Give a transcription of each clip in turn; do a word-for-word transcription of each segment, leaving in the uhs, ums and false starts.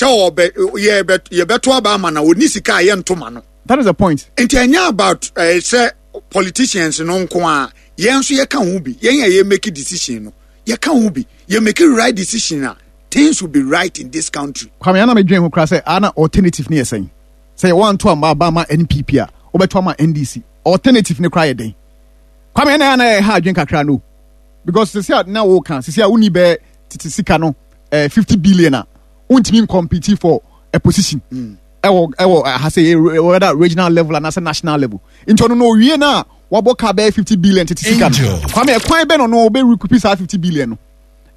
Sɛ ɔbɛ yɛbɛ yɛbɛto aba ama na oni sika a yɛnto ma no. That is the point. Nti ɛnyɛ about ɛɛ sɛ politicians no nko a, yɛn nso yɛka ho bi. Yɛn a yɛ make decision no, yɛka ho bi. Yɛ make right decision a, things will be right in this country. Kwame, ana medwen ho koraa sɛ ana alternative ne yɛ sɛn? Sɛ yɛwɔ anto amba aba ama N P P a, wobɛto ama N D C, alternative ne koraa yɛ den? Kwame, ɛna ana ɛha adwen kakra no, because sisi a na woka sisi a woni bɛɛ tete sika no eh, fifty billion a, wontumi ncompete for a position ɛwɔ ɛwɔ ha sɛ whether regional level anaasɛ national level. Nti ɔno no owie no a, wabɔ ka bɛyɛ fifty billion tete sika no. Angel. Kwame, ɛkwan bɛ no no ɔbɛ recoup saa fifty billion no?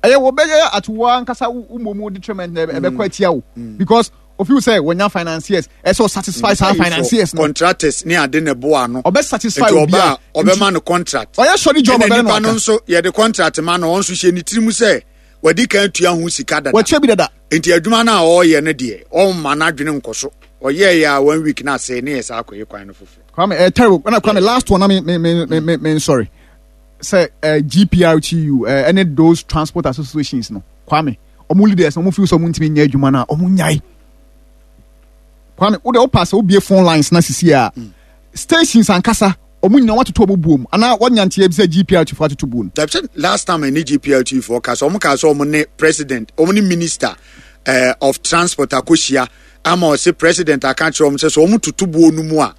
Ɛyɛ wɔbɛyɛ atowa ankasa wo mmom detriment na ɛbɛkɔ atia wo, because ofiw sɛ wɔnya financiers, ɛsɛ ɔsatisfy saa financiers no. Contractors ne ade na ɛboa no. Ɔbɛ satisfy nti obi ɔba a a, ɔbɛma no contract. Ɔyɛ sɔre job. Ɛna ɔbɛrɛ no nipa no aka. Nso yɛde contract ma no, ɔno nso hyɛ ne tirim sɛ wadi kan tua ho sika dada. Wɔkyɛ bi dada. Nti adwuma no a ɔreyɛ no deɛ, ɔmma n'adwene nkɔ so. Ɔyɛɛ yɛ a, one week na asɛe ne yɛ saa akɔyɛ kwan no foforɔ. Kwame, ɛyɛ terrible. Ɛna Kwame, last one na me me me me me me sorry sɛ ɛ G P R T U ɛ ɛne those transport associations no, Kwame, ɔmo leaders na ɔmo feel sɛ ɔmo ntumi nyɛ adwuma no a, ɔmo nyae. Kwame, wo de wo pass, wobie phone lines na sisi a, stations ankasa ɔmo nyinaa watoto ɔmo buom anaa wɔnya nteɛ bi sɛ G P R T fo atoto buo no. Dabi, sɛ last time ɛne G P R T foɔ ka sɛ ɔmo ka sɛ ɔmo ne president, ɔmo ne minister uh, of transport akɔhyia ama ɔsɛ president aka kyerɛ ɔmo sɛ sɛ ɔmo toto buo no mu a,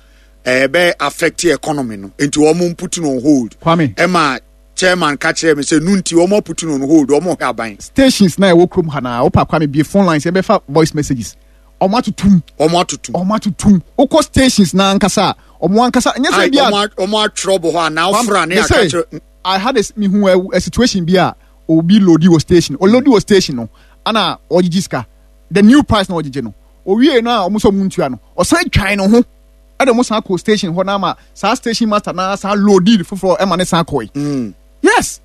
ɛbɛ affect economy no, nti ɔmo put no on hold. Kwame. Ɛma chairman ka kyerɛ me sɛ nu nti ɔmo put no on hold, ɔmo hwɛ aban. Stations na ɛwɔ kurom ha na wopa, Kwame, bie phone lines, yɛbɛfa voice messages, ɔmo atotom. Ɔmo atotom. Ɔmo atotom. Wokɔ stations na ankasa a, ɔmo ankasa nyɛ sɛ Ai, bi a ɔmo a- ɔmo atwerɛ bɔ hɔ anaa ɔfra ne Me aka say, kyerɛ. I had a mihu a, a situation bi a obi loadi wɔ station, ɔloadi wɔ station no ana ɔgyegye sika, the new price na ɔgyegye no. Owie no a, ɔmo sɛ ɔmo ntua no, ɔsan twan ne ho ɛde ɔmo san kɔ station hɔ na ama saa station master na san loadi foforɔ ɛma ne san kɔɛ. Mm. Yes.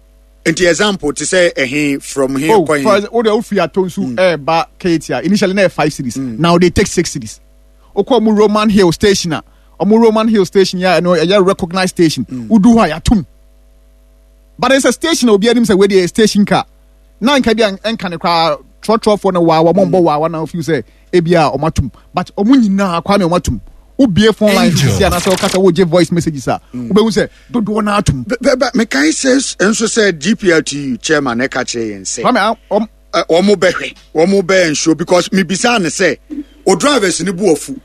Nti example te sɛ ɛhe from he Oh, kɔ for he? o de ofiri Atonsu ɛɛba Kejetia, initially na yɛ five cedis, now they take six cedis. Okɔ ɔmo Roman Hill station a, ɔmo Roman Hill station yɛ a, ɛno ɛyɛ recognized station, wodu hɔ a, yɛatum. But it's a station a obi anim sɛ wei deɛ yɛ station car na nka bi a nka ne koraa trɔtrɔfoɔ no waawa, ɔmo mbɔ waawa na ofiw sɛ ebi a ɔmo atum. But ɔmo nyinaa, Kwame, ɔmo atum. Wobie phone line Angel. sisi anaasɛ ɔkasa wogye voice messages a, wobɛhu sɛ dodoɔ no atum. Bɛ- bɛ- mekae sɛ nso sɛ G P R T U chairman ɛka kyerɛ yɛn sɛ Kwame, a- ɔm ɛ, wɔn bɛhwɛ, wɔn bɛyɛ nsuo, because mibisa ne sɛ o drivers ni bu afu.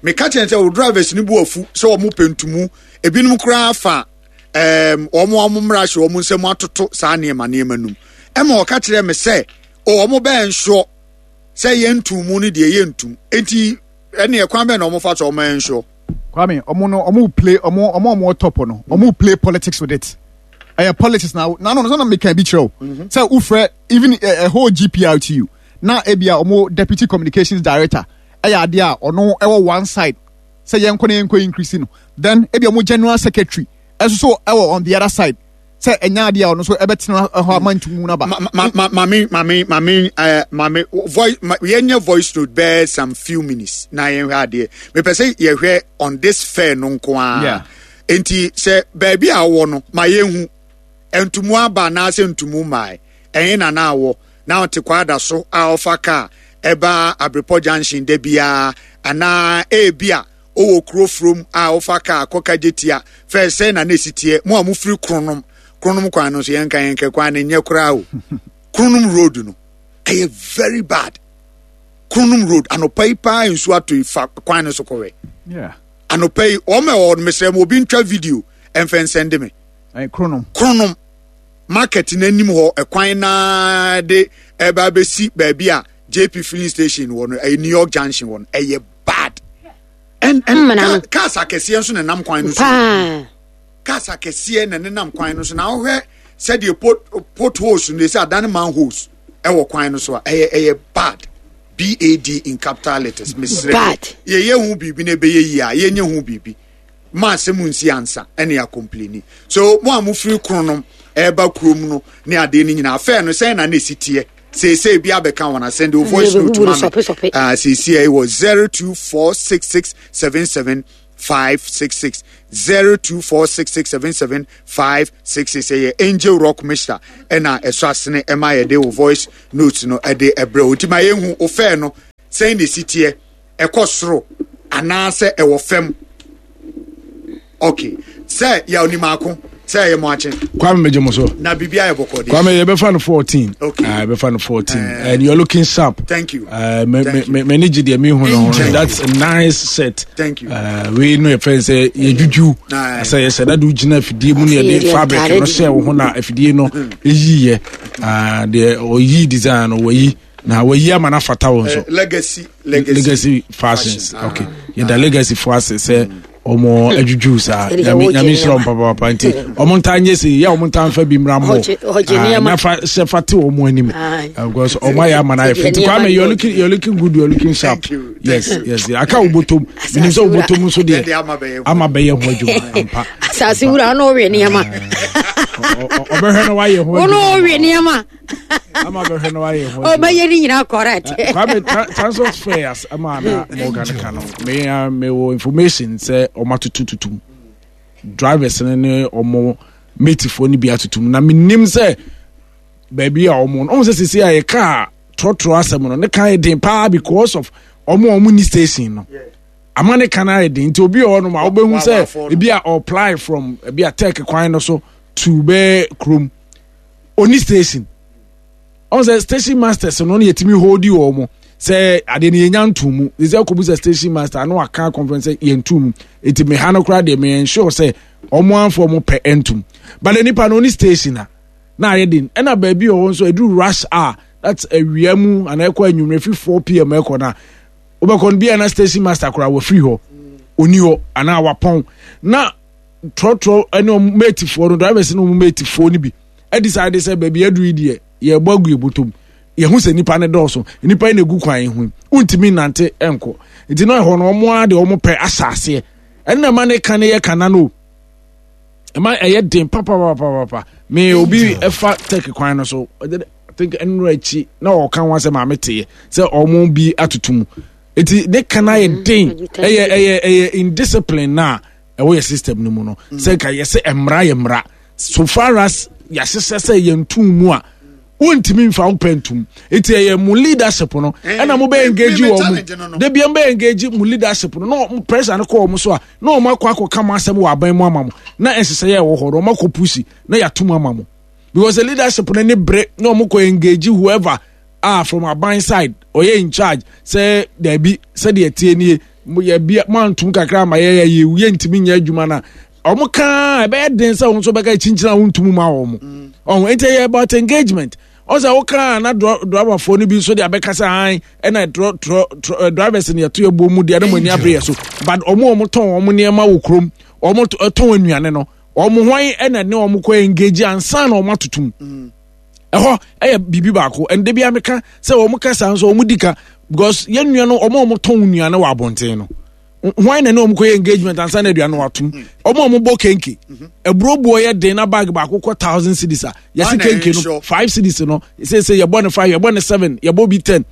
Meka kyerɛ sɛ o drivers ni bu afu sɛ wɔn pɛ ntumu, ebinom koraa fa ɛɛm wɔn a wɔn mmara hyɛ wɔn nsam atoto saa nneɛma nneɛma num. Ɛma ɔka kyerɛ me sɛ o wɔn bɛyɛ nsuo sɛ yɛn ntumu no deɛ, yɛn ntum. Nti ɛne ɛkwan bɛn na wɔn fa so wɔn yɛ nsuo? Kwame, ɔmo no ɔmo play ɔmo ɔmo ɔmo top no, ɔmo play politics with it. Ɛyɛ politics na na no no sɛ meka bi kyerɛ o sɛ wofrɛ even a, a whole G P R T U na ebia ɔmo deputy communications director ɛyɛ adeɛ a ɔno ɛwɔ one side sɛ yɛnkɔ na yɛnkɔ increase no, then ebi ɔmo general secretary ɛso so ɛwɔ on the other side sɛ ɛnya adeɛ a ɔno nso ɛbɛtena hɔ ama ntumu no aba. Ma ma ma maame maame maame ɛɛ maame voice ma yɛnyɛ voice note bɛɛ some few minutes na yɛnhwɛ adeɛ. Mepɛ sɛ yɛhwɛ on this fare no nko ara. Yeah. Nti sɛ baabi a wɔwɔ no, ma yɛnhu ntumu aba anaasɛ ntumu mmaa. Ɛhe na na awɔ na ɔte kwada so a ɔfa kaa ɛba Abrepɔ Junction da biara, anaa ebi a ɔwɔ kuro furom a ɔfa kaa kɔka Gyetia fɛ sɛ na na esi teɛ? Mo a mofiri Kronom, Kronom kwan no nso, yɛnka yɛnkɛ kwan no nyɛ koraa o. Kronom road no ɛyɛ very bad. Kronom road, anɔpa yi paa nsuo atɔ yi, fa kwan no so kɔwɛ. Yeah. Anɔpa yi wɔn a ɛwɔ no, mesrɛ mo, obi ntwa video ɛmfɛ nsɛnde me. Ɛyɛ Kronom. Kronom market n'anim hɔ, ɛkwan naa de ɛba abɛsi baabi a J P filling station wɔ no, ɛyɛ New York Junction wɔ no, ɛyɛ bad. and and Mmena no. car- cars akɛseɛ nso nenam kwan no so. Paa. Cars akɛseɛ na nenam kwan no so, na wohwɛ sɛdeɛ pot potholes no ɛsɛ adane manholes ɛwɔ kwan no so a, ɛyɛ ɛyɛ bad, B A D in capital letters. Mesrɛ, Bad. yɛyɛ ho biribi na ɛbɛyɛ yie a, yɛnyɛ ho biribi ma asɛm nsi ansa ɛne acomplaini. So mo a mofiri Kronom ɛreba kurom no ne adeɛ no nyinaa, fare no sɛn na na ɛsi teɛ? Seesei bi abɛka wɔn asɛn de o voice note ma me. Ah, seesei ɛwɔ zero two four six six seven seven five six six, zero two four six six seven seven five six six. Ɛyɛ Angel Rock Mixture ɛna ɛsɔ asene ɛma yɛde wo voice note no ɛde ɛbrɛ o. Nti ma yɛnhu o fare no Sɛn na esi teɛ, ɛkɔ soro anaasɛ ɛwɔ fam? Okay, sɛ yɛ onimaako sɛ ɛyɛ mo akye. Kwame, megye mo so. Na biribi ayɛ bɔkɔ deɛ. Kwame, yɛbɛfa no fourteen. Okay. Uh, yɛbɛfa no fourteen. Uh, and you're looking sharp. Thank you. Uh, me Thank me me gye deɛ mehu no ho. Thank That's a nice shirt. Thank you. Uh, wei no yɛfrɛ sɛ yɛdwudwu. Aye. Sɛ yɛhyɛ dade wogyina afidie mu ne Afei yɛde deɛ fabric ntaare no de. hyɛ wo ho na afidie no ɛyiiɛ. Uh, deɛ ɔyii design no, wayi na wayi ama no afata wo nso. Eh, legacy legacy Legacy Fashions. Fashion. Okay, yɛda Legacy fo ase sɛ ɔmo adwudwu saa. Ɛde sɛ Nyame wɔgye Nyame nhyira ɔmo nneɛma. papaapa, nti ɔmo ntaa nyɛ sei yɛ, ɔmo ntaa nfa bi mmra mmɔ. Ɔgye- ɔgye Ah, nneɛma. na fa hyɛ fa te ɔmo anim. Aye. Ah, because ɔmo ayɛ ama no ayɛ fɛ. Nti Nneɛma Kwame, you're deɛ looking you're looking good, you're looking sharp. Thank you. Yes, yes, aka wo bɔtɔm, menim sɛ wo bɔtɔm nso Deɛ deɛ ama bɛyɛ ho. ama bɛyɛ ho adwuma ampa. Asase wura ɔno ɔwe nneɛma. Ɔ- ɔ- ɔbɛhwɛ na wayɛ ho Ɔno adwuma. ɔwe nneɛma. Ama bɛhwɛ na wayɛ ho adwuma. Ɔbɛyɛ ne nyinaa correct. Kwame, tra- transport fares ama na Morgan ka no, me uh, me wɔ information sɛ ɔmo atoto tutum, drivers no ne ɔmo matefoɔ no bi atotum, na menim sɛ baabi a ɔmo no, ɔmo sɛ sisi a yɛka trɔtrɔ asɛm no ne ka yɛ den paa because of ɔmo a ɔmo ni station no ama ne ka no ayɛ den. Nti obi wɔ hɔnom a wobɛhu Wa- sɛ wafoɔ no. ebi a ɔply from ebi a Tech kwan no so to bɛɛ kurom, oni station. Ɔn sɛ station masters no no yɛtumi hold wɔ mo sɛ adeɛ no yɛnya nto mu sɛ kɔbu sɛ station master ano aka conference sɛ yɛnto mu, nti meha no koraa deɛ meyɛ ensure sɛ ɔmo amfo ɔmo pɛ ntom, but nipa no oni station a na ayɛ den. Ɛna baabi wɔ hɔ nso ɛduru rush hour, that's awia mu anaa ɛkɔ anwummerɛ fi four p m ɛkɔ na wobɛkɔ no bia na station master koraa wɔfiri hɔ, oni hɔ anaa wapɔn, na trɔtrɔ ɛne ɔmo matefoɔ no, drivers ne ɔmo matefoɔ no bi ɛdecide sɛ baabi aduru yi deɛ, yɛbɔ agu yɛbɔtɔm, yɛho sɛ nipa ne dɔɔso, nipa yi na egu kwan yi ho, wontumi nante ɛnkɔ, nti na ɛhɔ no ɔmo ara de ɔmo pɛ ahyɛ aseɛ. Ɛnna ɛma ne ka ne yɛ kana no ɛma ɛyɛ den papapapapa. Me obi ɛfa Tech kwan no so, ɔde- I think ɛnura akyi na ɔka ho asɛ maame teɛ sɛ ɔmo bi atoto mu, nti ne ka no ayɛ den. Ɛyɛ ɛyɛ ɛyɛ indiscipline na ɛwɔ yɛ system no mu no, sɛ nka yɛsɛ mmara yɛ mmara, so far as yɛahyehyɛ sɛ yɛntum mu a, wontumi mfa wo pɛ ntum, nti ɛyɛ mo leadership no Eh, ɛna mo bɛ engage me- me wɔ challenge no mo no. de bia mbɛ engage mo leadership no na ɔmo pressure no kɔ ɔmo so a, na ɔmo akɔ akɔka mo asɛm wɔ aban mu ama mo, na nhyehyɛeɛ a ɛwɔ hɔ no ɔmo akɔ push na yɛatom ama mo, because the leadership no ne bere na ɔmo kɔ engage whoever a from aban side ɔyɛ in charge sɛ daabi, sɛdeɛ tie nie, mo yɛ bi mo antum kakra ama yɛ yɛ yɛ yɛntumi nyɛ adwuma na ɔmo kaa ɛbɛyɛ den sɛ ɔmo nso bɛka kyinkyini a wɔntum ma wɔn ɔmo. Nti ɛyɛ about engagement. Ɔsɛ wokaa na driverfoɔ no bi nso de abɛka sɛ an ɛna trɔ trɔ trɔ drivers no yɛto yɛ bɔ mu deɛ ne mo ani abere yɛ so, but ɔmo a ɔmo tɔn ɔmo nneɛma wɔ kurom, ɔmo tɔn nnuane no, ɔmo hwan ɛna ne ɔmo kɔ engage ansa na ɔmo atotum? Ɛhɔ ɛyɛ biribi baako. Ɛnde bi ameka sɛ ɔmo kasa nso ɔmo di ka, because yɛn nua no, ɔmo a ɔmo tɔn nnuane wɔ abɔnten no, hwan na ne ɔmo kɔ yɛ engagement ansa na aduane watom? Ɔmo a ɔmo bɔ kenke, aburo buo yɛ den na bag baako kɔ thousand cedis a yɛsi kenke no five cedis no, sese yɛbɔ ne five, yɛbɔ ne seven, yɛbɔ bi ten,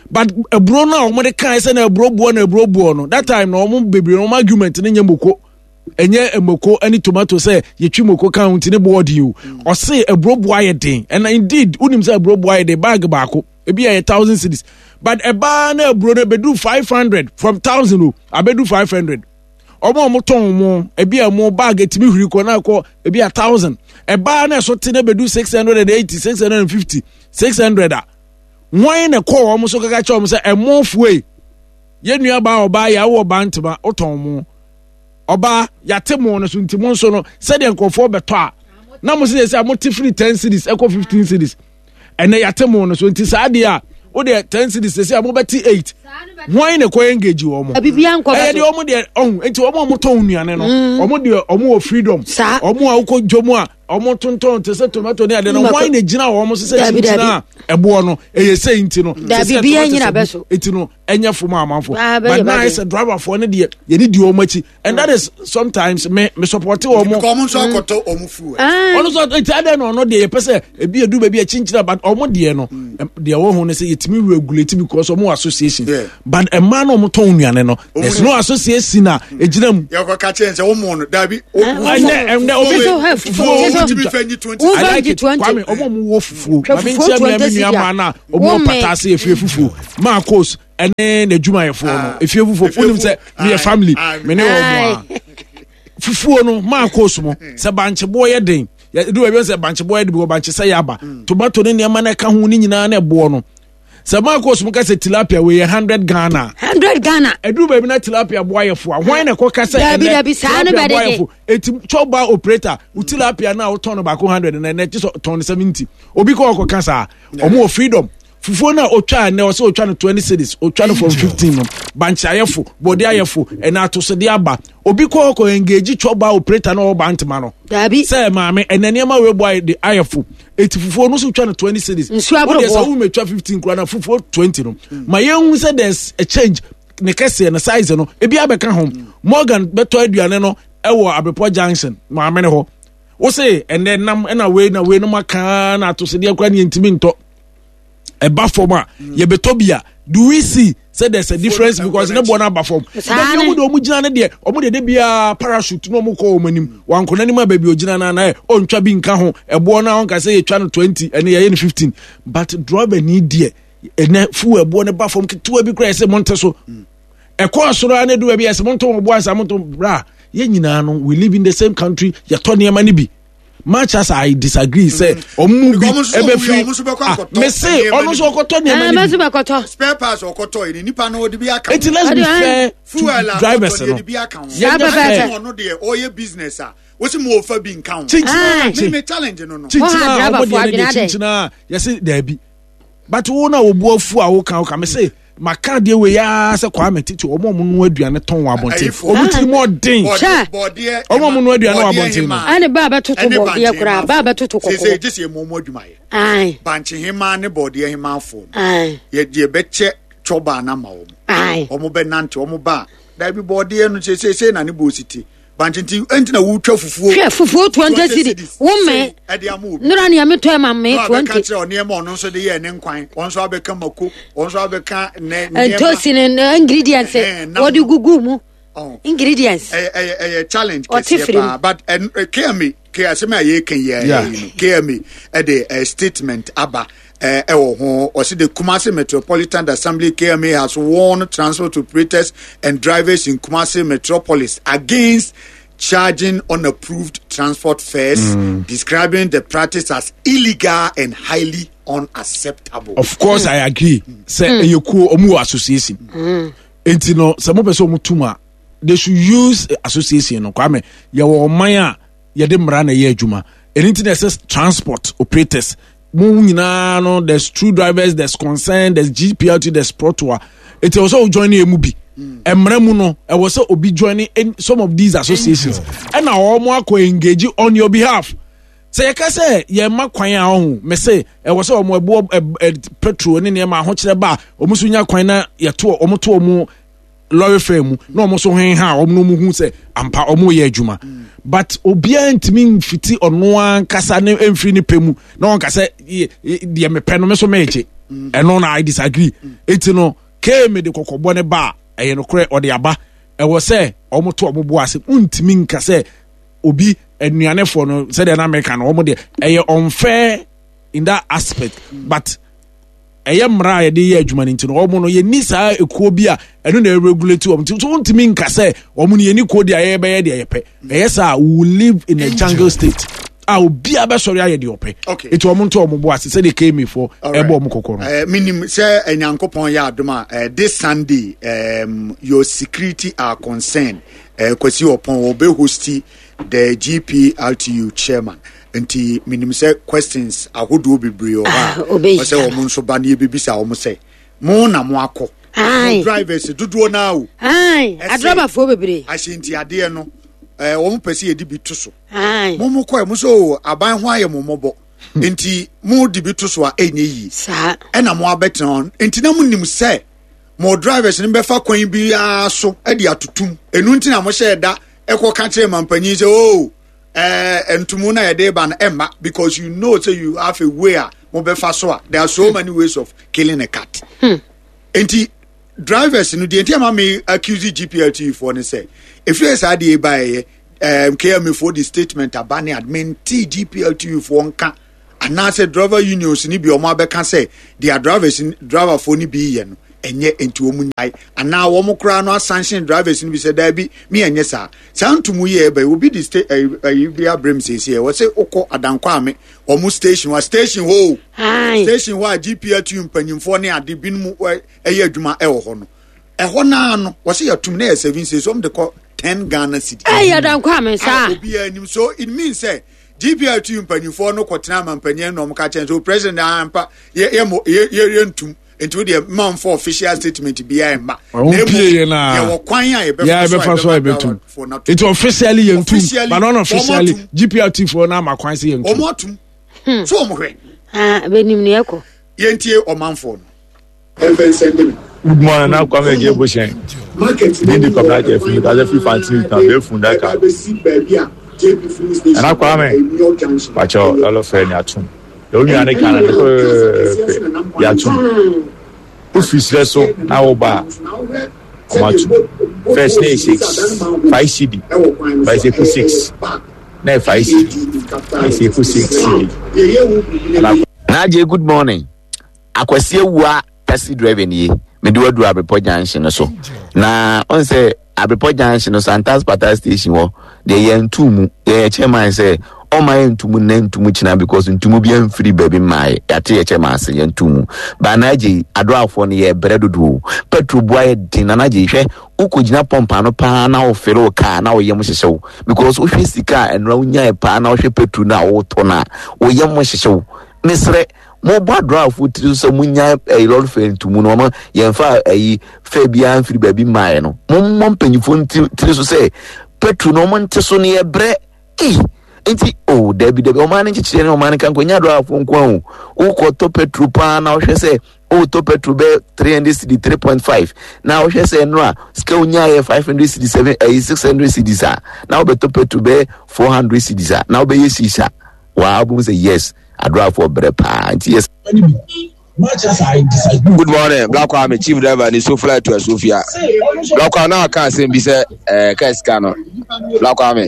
but aburo no a ɔmo de kan sɛ na aburo buo na aburo buo no, that time na ɔmo bebree ɔmo argument ne nyɛ moko, ɛnyɛ moko ne tomato sɛ yɛtwi moko kan ho nti ne boɔ den o. Ɔse aburo buo ayɛ den, and indeed wonim sɛ aburo buo ayɛ den. Bag baako ebi yɛ thousand cedis, but ɛbaa na aburo no ebedu five hundred from thousand o, abedu five hundred. Ɔmo a ɔmo tɔn mo ebi a mo bag etimi huri kɔ na akɔ ebi a thousand, ɛbaa na ɛso te na ebedu six hundred and eighty, six hundred and fifty, six hundred a, wɔn na kɔɔ wɔn so kaka kyerɛ wɔn sɛ ɛmo fue yɛn nua baa ɔbaa yɛ awɔ ɔbaa ntoma ɔtɔn mo ɔbaa yate mo no so, nti mo nso no sɛdeɛ nkurɔfoɔ bɛtɔ a na mo sɛ sɛ mo te firi ten cedis ɛkɔ fifteen cedis, ɛnɛ yate mo no so, nti saa deɛ a wo deɛ ten cedis sɛ a mobɛte eight, wɔn na kɔ engage wɔn mo ɛyɛ deɛ wɔn deɛ ɔho. Nti wɔn a wɔn tɔn nnuane no, wɔn deɛ wɔn wɔ freedom. Wɔn a wokɔ dwom a wɔn tontɔn te sɛ tomato ne adeɛ no, wɔn na gyina wɔn so sɛ kyinkyin a ɛboɔ no ɛyɛ sɛ nti no sɛ sɛ nti no ɛnyɛ fom amanfo, but na ayɛ sɛ driverfoɔ no deɛ yɛde di wɔn akyi, and that is sometimes me me support wɔn. Ɔmo nso akɔtɔ ɔmo fuel. Ɔno nso nti adan na ɔno deɛ yɛpɛ sɛ ebi edu baabi akyinkyin, but ɔmo deɛ no deɛ wɔn ho no sɛ yɛtumi regulate because ɔmo wɔ association, but mmaa na ɔmo tɔn nnuane no, there is no association a egyina mu. Yɛ kɔ kakyɛ nsɛ ɔmo no dabi. Ɛnɛ ɛnɛ obi fufuo wotumi fɛ nyi twenty. I like it, Kwame. Ɔmo ɔmo wɔ fufuo, maame nkyɛn mi ɛmi nua maa na ɔmo wɔ pata ase efie fufuo maa kos. Ɛne n'adwumayɛfoɔ no, Ah. efie fufuo. Efie Wonim fu- sɛ meyɛ Aye, family, aye. me ne wɔ mu a fufuo no maa kɔɔ mu sɛ bankyeboɔ yɛ den, yɛdu baabi sɛ bankyeboɔ yɛ den bi wɔ bankye sɛ yɛ aba, tomato ne nneɛma no ɛka ho ne nyinaa na ɛboɔ no, sɛ maa kɔɔ mu ka sɛ tilapia wei yɛ hundred Ghana, hundred Ghana. Ɛduru baabi na tilapia boa yɛ fo a, hwan na ɛkɔka sɛ Dabi, ɛnɛ dabi, saa no tilapia boa bɛde yɛ fo? Eti chɔba operator wo tilapia no a wotɔn no baako hundred na ɛnɛ kye sɛ tɔn no seventy, obi kɔ ɔkɔka saa? Ɔmo wɔ freedom. Fufuo no a otwa ɛnɛ, ɔsɛ otwa no twenty cedis, otwa no from fifteen no, bankye ayɛfo, bɔde ayɛfo, ɛna atosode aba, obi kɔ ɔkɔ engage chɔba operator na ɔba ntoma no Dabi. sɛ maame, ɛnɛ nneɛma wei bɔ ayɛ de ayɛfo, eti fufuo no nso twa no twenty cedis. Nsuo aboroboɔ. Wodeɛ sɛ wometwa fifteen kura na fufuo twenty no, ma yɛnhu sɛ there's a change. Ne kɛseɛ ne size no ebi abɛka ho. Morgan bɛtɔ aduane no ɛwɔ Abrepɔ Junction, maame ne hɔ wose ɛnɛ nam ɛna wei na wei no ma kaa na atosodeɛ kora ne yɛntumi ntɔ, ɛba fam a yɛbɛtɔ bi a, do we see say there's a difference? Because ne bɔ no aba fam. Saa Dabi, ne. ɔmo de ɔmo gyina ne deɛ, ɔmo de de biara parachute na ɔmo kɔ ɔmo anim wankɔ n'anim a baabi ogyina na na ɔntwa bi nka ho. Ɛboɔ no a ɔnka sɛ yɛtwa no twenty, ɛne yɛyɛ no fifteen, but driver ni deɛ, ɛnɛ fuel ɛboɔ no ba fam ketewa bi kora, yɛsɛ monte so. Ɛkɔɔ soro a ne do baabi yɛsɛ monto mo boa nsa monto bra. Yɛn nyinaa no, we live in the same country, yɛtɔ nneɛma no bi. Much as I disagree sɛ ɔmo mu bi Because ɔmo nso so ɛbɛfiri ɔmo nso bɛkɔ ah akɔtɔ mese nneɛma ɔno no nso ɔkɔtɔ Ah, nneɛma no mɛso bi. bɛkɔtɔ. Spare parts ɔkɔtɔ yi ni nipa no ɔde bi aka ho. Eti let's be Ɔde- fair to Fuel a drivers ɔtɔ no. deɛ de bi aka ho. Saa Yɛnyɛ pɛpɛɛpɛ. fair. Ɔno deɛ ɔyɛ business a wosi mu ofa bi nka ho. Kyinkyin Me me challenge no no. kyinkyin Wɔn a a ɔmo driverfoɔ deɛ no deɛ adwene adɛn? kyinkyin a yɛsi daabi, but wo na obu afu a woka woka me se maka deɛ wei yaa sɛ Kwame titi ɔmo a ɔmo noa aduane tɔn wɔ abɔnten, Ayifoɔ. ɔmo tiri mu ɔden. Hwɛ. Bɔdeɛ. Ɔmo a ɔmo noa aduane wɔ abɔnten no. Ɛne ba bɛtoto bɔdeɛ koraa, ba bɛtoto Sese kɔkɔɔ. gye sɛ emu ɔmo adwuma yɛ. Ae. Bankye hema ne bɔdeɛ hema afo no. Ae. Yɛ deɛ bɛkyɛ twɔba na ma wɔn. Ae. Ɔmo bɛ nante, ɔmo ba dabi bɔdeɛ no sese sese na ne bɔ ositi bankye nti ɛnti na wotwa fufuo. Hwɛ, fufuo twenty cedi wo mɛ. Ɛde ama obi. Nnora nea metɔ ma me Na abɛka twenty. kyerɛ ɔnneɛma ɔno nso de yɛ ne nkwan, ɔno nso abɛka mako, ɔno nso abɛka ne nneɛma. Ntosi ne ne ingredients Ɛhɛn, nam wɔde no. gugu mu. Ɔn. Ingredients. ɛyɛ ɛyɛ ɛyɛ challenge Ɔte kɛseɛ firi mu. paa, but ɛn ɛ, K M A K asɛm a yɛreka yi Yeah. yɛ yi no, K M A ɛde ɛ statement aba ɛ ɛwɔ ho. Ɔsi the Kumasi Metropolitan Assembly, K M A, has warned transport operators and drivers in Kumasi Metropolis against charging unapproved transport fares, describing the practice as illegal and highly unacceptable. Of course I agree sɛ ɛyɛ kuo, ɔmo wɔ association, nti no sɛ mo pɛ sɛ ɔmo tum a, they should use eh, association no. Kwame, yɛwɔ ɔman a yɛde mmara na ɛyɛ adwuma. Ɛno nti na ɛsɛ transport operators mo nyinaa no, there's true drivers, there's concern, there's G P L T, there's PROTOA. Eti ɛwɔ sɛ o join emu bi. Mmara mu no, ɛwɔ sɛ obi join in some of these associations ɛna wɔn akɔ engage on your behalf. Sɛ yɛka sɛ yɛma kwan a ɔho mɛsɛ ɛwɔ sɛ ɔmo ɛboɔ ɛ ɛ petrol ne nneɛma ahokyerɛ ba a, ɔmo nso nya kwan na yɛto ɔmo to ɔmo lorry fare mu na ɔmo nso hen ha a ɔmo no ɔmo hu sɛ ampa ɔmo yɛ adwuma. But obiara ntumi nfiti ɔno ankasa ne mfiri ne pɛ mu na ɔnka sɛ yɛ- yɛ- deɛ mepɛ no me so mɛgye ɛno na I disagree. Eti no kee de kɔkɔbɔ ne ba a ɛyɛ nokorɛ ɔde aba, ɛwɔ sɛ ɔmo to ɔmo bo ase. Ntumi nka sɛ obi anuanefoɔ no sɛdeɛ na meka no, ɔmo deɛ ɛyɛ unfair in that aspect, but ɛyɛ mmara a yɛde yɛ adwuma no nti no, ɔmo no yɛni saa ekuo bi a ɛno na ɛregulate wɔn, nti so wontumi nka sɛ ɔmo no yɛni kuo deɛ a yɛbɛyɛ deɛ yɛpɛ. Ɛyɛ saa, we will live in a jungle state a obiara bɛsɔre ayɛ deɛ ɔpɛ. Okay. Eti ɔmo nto ɔmo bo ase sɛdeɛ K M A foɔ Alright. ɛbɔ ɔmo kɔkɔ no. Uh, minim sɛ Nyankopɔn yɛ adom a, uh, this Sunday, um, your security are concerned. uh, Kwasi Ɔpɔn wɔbɛ host the G P R T U chairman, nti minim sɛ questions ahodoɔ bebree wɔ Ah, hɔ a ɔbɛyi. ɔsɛ wɔn nso ba ne yɛbɛbisa wɔn sɛ mo na mo akɔ Aye. mo drivers dodoɔ naa o. Ae. Ɛsɛ- Adrɔbafoɔ bebree. Ahyɛntiadeɛ no, eh, wɔn pɛ sɛ yɛde bi to so. Ae. Mo mo kɔɛ mo so aban ho ayɛ mo mmɔbɔ, nti mo de bi to so a ɛnyɛ yie. Saa. Ɛna mo abɛtena hɔ, nti na mo nim sɛ mo drivers no bɛfa kwan biara so ɛde atotum. Enu nti na mo hyɛ da ɛkɔ ka kyerɛ mampanyin sɛ o ɛɛ ntumu na yɛde ba no ɛmma, because you know say you have a way a mo bɛfa so a, there are so many ways of killing a cat. Nti drivers no deɛ, nti ama mi accuse G P L T foɔ ne sɛ efiri saa deɛ eba yɛ ɛɛm K M A foɔ de statement aba ne admin ti G P L T foɔ nka anaasɛ driver unions ni bi ɔmo abɛka sɛ deɛ drivers driver foɔ ni bi yɛ no. Ɛnyɛ nti wɔn nyae anaa wɔn koraa no asanction drivers no bi sɛ daabi mi ɛnyɛ saa saa ntumu yi ɛbɛ obi di sta ɛyi ɛyi bi abrem siesie wɔ sɛ okɔ Adankwame wɔn station wa station hɔ o station hɔ a G P L T U mpanyinfoɔ ne ade binom ɛyɛ adwuma ɛwɔ hɔ no, ɛhɔ naa no wɔsɛ yɛtum na yɛ seven cedis, wɔn de kɔ ten Ghana cedi. Ɛyɛ Adankwame saa. Obiara anim, so it means sɛ G P L T U mpanyinfoɔ no kɔtena ama mpanyin na wɔn ka kyɛn so president ampa yɛ yɛ mo yɛ yɛ yɛ ntum, nti o deɛ mma nfɔ official statement biara mma. Ɔmo pie yɛ na yɛwɔ kwan a yɛbɛfa so a yɛbɛtum, nti officially yɛ ntum, but not officially G P L T foɔ na ama kwan sɛ yɛ ntum. Ɔmo atum so ɔmo hwɛ. Bɛnim ne ɛkɔ. Yɛntie ɔmanfoɔ no. Good morning, na Kwame Eje Boshen. Din di Kwame Aje fi Kaze fi Fantini town be fun daka. Nana Kwame, pacho lolo fɛ ni atum. De o nua ne kana ne pɛpɛɛpɛ yatum. Wofi serɛ so na wo ba ɔmo atum. First na yɛ six, five cedi, but ɛsɛ kɔ six. Na yɛ five cedi, ɛsɛ kɔ six cedi. Naje, good morning. Akwasi Awua taxi driver nie, mede wadu Abrepɔ Junction no so. Na ɔn sɛ Abrepɔ Junction no, Santas Pata station hɔ deɛ, yɛntu mu. Yɛyɛ chairman sɛ ɔma yɛ ntumu nnɛ, ntumu kyina, because ntumu bi amfiri baabi mmaeɛ. Yɛate yɛ chairman ase, yɛntu mu ba. Anagye adoafoɔ no yɛ brɛ dodoɔ, petrol bua yɛ den. Anagye, hwɛ, wokɔgyina pump ano paa na wofere wo kaa na woyɛ mo hyehyɛ wo, because wohwɛ sika a ɛnora wonyae paa na wohwɛ petrol no a wotɔ no a, woyɛ mo hyehyɛ wo. Mesrɛ mobɔ adoafoɔ tiri so sɛ monya ɛyi lorry fare ntumu no, ɔma yɛmfa ɛyi fare biara mfiri baabi mmaeɛ no. Mommɔ mpanyinfoɔ tiri so sɛ petrol no ɔmo nte so no, yɛbrɛ. Ei, nti o oh, dabi dabi, ɔman no nkyekyere ne ɔman no kanko nya adoafoɔ nko a o. Wokɔtɔ petrol paa na wohwɛ sɛ wotɔ petrol bɛyɛ three hundred cedi, three point five, na wohwɛ sɛ ɛno a sika wonya yɛ five hundred cedi, seven, ɛyɛ six hundred cedis a, na wobɛtɔ petrol bɛyɛ four hundred cedis a, na wobɛyɛ six a, waa wobɛhu sɛ yes, adoafoɔ brɛ paa. Nti yes. Good morning, Black Kwame, chief driver ni Sofla to Sofia. Black Kwame, na aka asɛm bi sɛ ɛɛ kaa sika no. Black Kwame,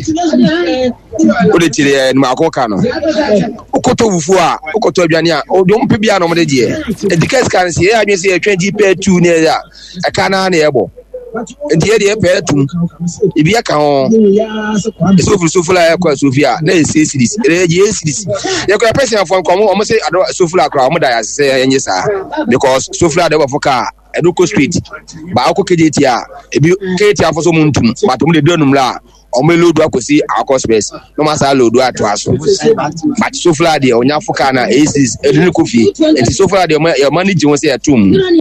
o de kyerɛ yɛ numaako ka no. Wokɔtɔ fufuo a, wokɔtɔ aduane a, ɔde ɔmo pɛ bi a na ɔmo de gyeɛ. Eti kaa sika no sɛ yɛyɛ adwene sɛ yɛtwɛn gyi pɛ tu ne yɛ a, ɛka naa na yɛbɔ. Nti yɛ deɛ pɛ tum. Ebi ɛka ho. Ɛsɛ ofiri Sofla ɛkɔ Sofia na yɛ six cedis. Ɛyɛ gye eight cedis. Yɛkɔ yɛ pɛsɛn fɔ nkɔmɔ ɔmo sɛ ado Sofla koraa ɔmo da yɛ ase sɛ yɛnyɛ saa because Sofla de wɔfɔ kaa ɛdo kɔ straight baako K J T a ebi K J T afɔ so ɔmo ntum, but ɔmo de du anum la a ɔmo load akɔsi akɔ space na ɔmo asa load atoa so, but Sofla deɛ ɔnya fo kaa na eight cedis ɛde ne kɔ fie. Nti Sofla deɛ ɔmo ɔmo ani gye ho sɛ yɛtum.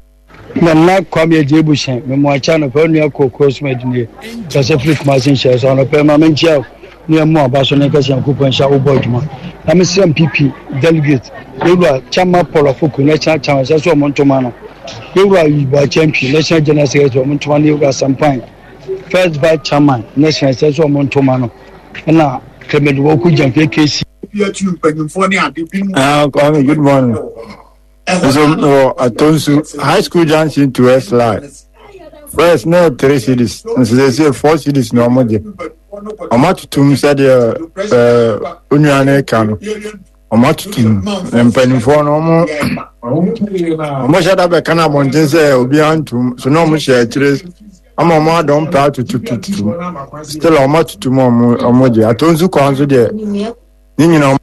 Nana Kwame Agye Ebuhyɛn, memoakya anɔpɛ, onua kookoo soma adwumie kɛsɛ firi Kumase nhyɛ so anɔpɛ ma menkyia wo ne ɛmu aba so ne nkɛsɛ Nyankopɔn nhyɛ wobɔ adwuma. Na mesrɛ M P P delegate yɛwura Chama Paul Afoko, national chairman, sɛ sɛ ɔmo ntoma no, yɛwura Yibo Akyɛntwi, national general secretary, ɔmo ntoma no, yɛwura Sampan, first vice chairman national, sɛ sɛ ɔmo ntoma no, ɛna Clement Wɔku Gyamfi K C. Ah, Kwame, good morning. So, no, Atonsu High School Junction to West Line. First, no three cedis. Nso they say four cedis na ɔmo gye. Ɔmo atutum sɛdeɛ ɛɛ onua no ka no. Ɔmo atutum. Mpanimfoɔ no ɔmo ɔmo hyɛ da bɛka no abɔnten sɛ obiara ntum. So na ɔmo hyɛ akyire ama ɔmo adɔm pɛ atutututum. Still ɔmo atutum, ɔmo ɔmo gye. Atonsu kwan so deɛ ne nyinaa.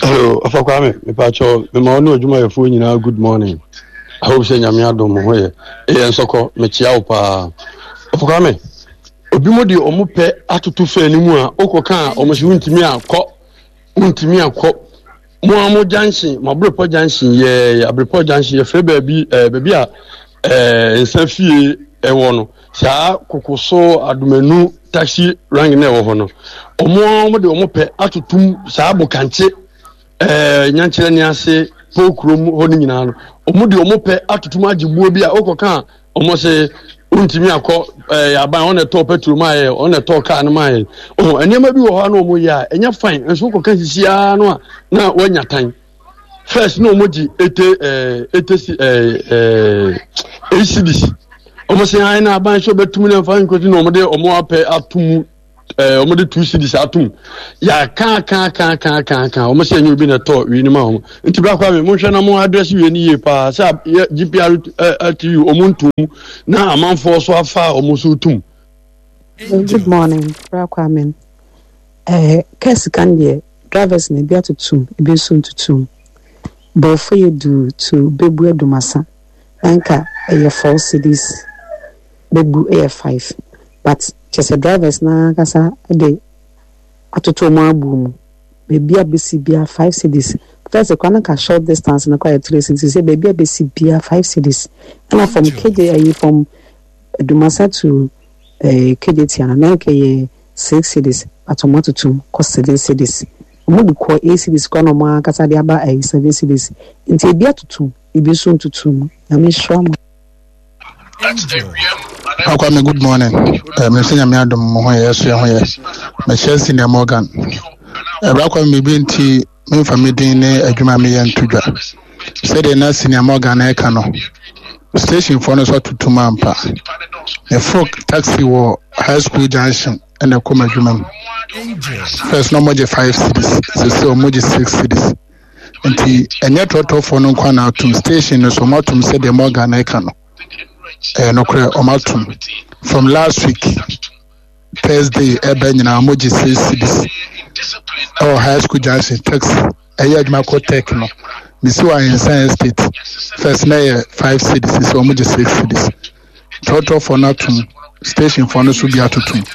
Hello, Ɔfa Kwame, mepakyɛw, mema wo ne adwumayɛfoɔ nyinaa good morning. I hope sɛ Nyame adom mo ho yɛ. Ɛyɛ nsɔkɔ, mekyia wo paa. Ɔfa Kwame, obi mo de ɔmo pɛ atoto fɛ no mu a, wokɔka a ɔmo sɛ wontumi akɔ, wontumi akɔ. Mo a mo junction, mo Abrepɔ Junction yɛ Abrepɔ Junction, yɛfrɛ baabi ɛɛ baabi a ɛɛ nsa fie ɛwɔ no. Saa Kokoso Adomanu taxi rank na ɛwɔ hɔ no, ɔmo a ɔmo de ɔmo pɛ atotom saa Bokankye ɛɛ Nyankyerɛ ne ase Pokurom hɔ no nyinaa no, ɔmo de ɔmo pɛ atotom agye buo bi a ɔkɔka a ɔmo sɛ ntumi akɔ. Ɛɛ aban ɔna ɛtɔ petrol maa yɛ, ɔna ɛtɔ kaa no maa yɛ. Ɔho nneɛma bi wɔ hɔ a na ɔmo yɛ a ɛnyɛ fine, nso kɔka sisi ara no a na wanya tan. First na ɔmo gye ete ɛɛ ete si ɛɛ ɛɛ eight cedis, ɔmo sɛ ayi na aban so bɛtum na nfa nkosi na ɔmo de ɔmo apɛ ato mu. ɛɛ wɔn de two cedis atum yà kan kan kan kan kan kan wɔn sɛ ɛnyɛ obi na ɛtɔ wie ni ma wɔn nti bra Kwame mo nhwɛ na mo address wie ni yie paa sɛ yɛ G P R T U wɔn ntum na amanfoɔ so afa a wɔn so tum. Good morning, Bra Kwame. Eh, kaa sika no deɛ, drivers na ebi atotom, ebi nso ntotom. Bɔɔfo yɛ du to Bɛbu Adumasa. Na nka ɛyɛ four cedis, Bɛbu ɛyɛ five. But kyerɛ sɛ drivers na ankasa de atoto wɔn abu mu. Baabi a bɛsi bia five cedis. First koraa na nka short distance no koraa yɛ three cedis. Sɛ baabi a bɛsi bia five cedis. Ɛna from K J ɛyi from Adumasa to eh, K J T ana na nka yɛ six cedis, but ɔmo atotom kɔ seven cedis. Ɔmo de kɔ eight cedis koraa na ɔmo ankasa de aba ɛyi seven cedis. Nti ebi atotom, ebi nso ntotom. Nyame nhyira mo. Akwame, good morning. Uh, Mr. Nyame adom mo ho yɛ so yɛ ho yɛ. Mehyɛ Senior Morgan. Ɛbra Kwame, biribi nti memfa me din ne adwuma a meyɛ nto dwa. Sɛdeɛ na Senior Morgan ɛka no, station foɔ no nso atotom ampa. Meforo taxi wɔ High School Junction ɛna ɛkɔ m'adwuma mu. First na ɔmɔgye five cedis, sese ɔmɔgye six cedis. Nti ɛnyɛ trɔtrɔfoɔ no nkwa na atom, station no so ɔmo atom sɛdeɛ Morgan ɛka no. Ɛyɛ nokorɛ, ɔmo atom from last week Thursday ɛbɛ nyinaa ɔmo gye six cedis ɛwɔ High School Junction. Taxi ɛyɛ adwuma kɔ Tech no, mesi wɔ Ahensan Estate, first na ɛyɛ five cedis, sɛ ɔmo gye six cedis. Trɔtrɔfoɔ no atom, station foɔ no so bi atotom.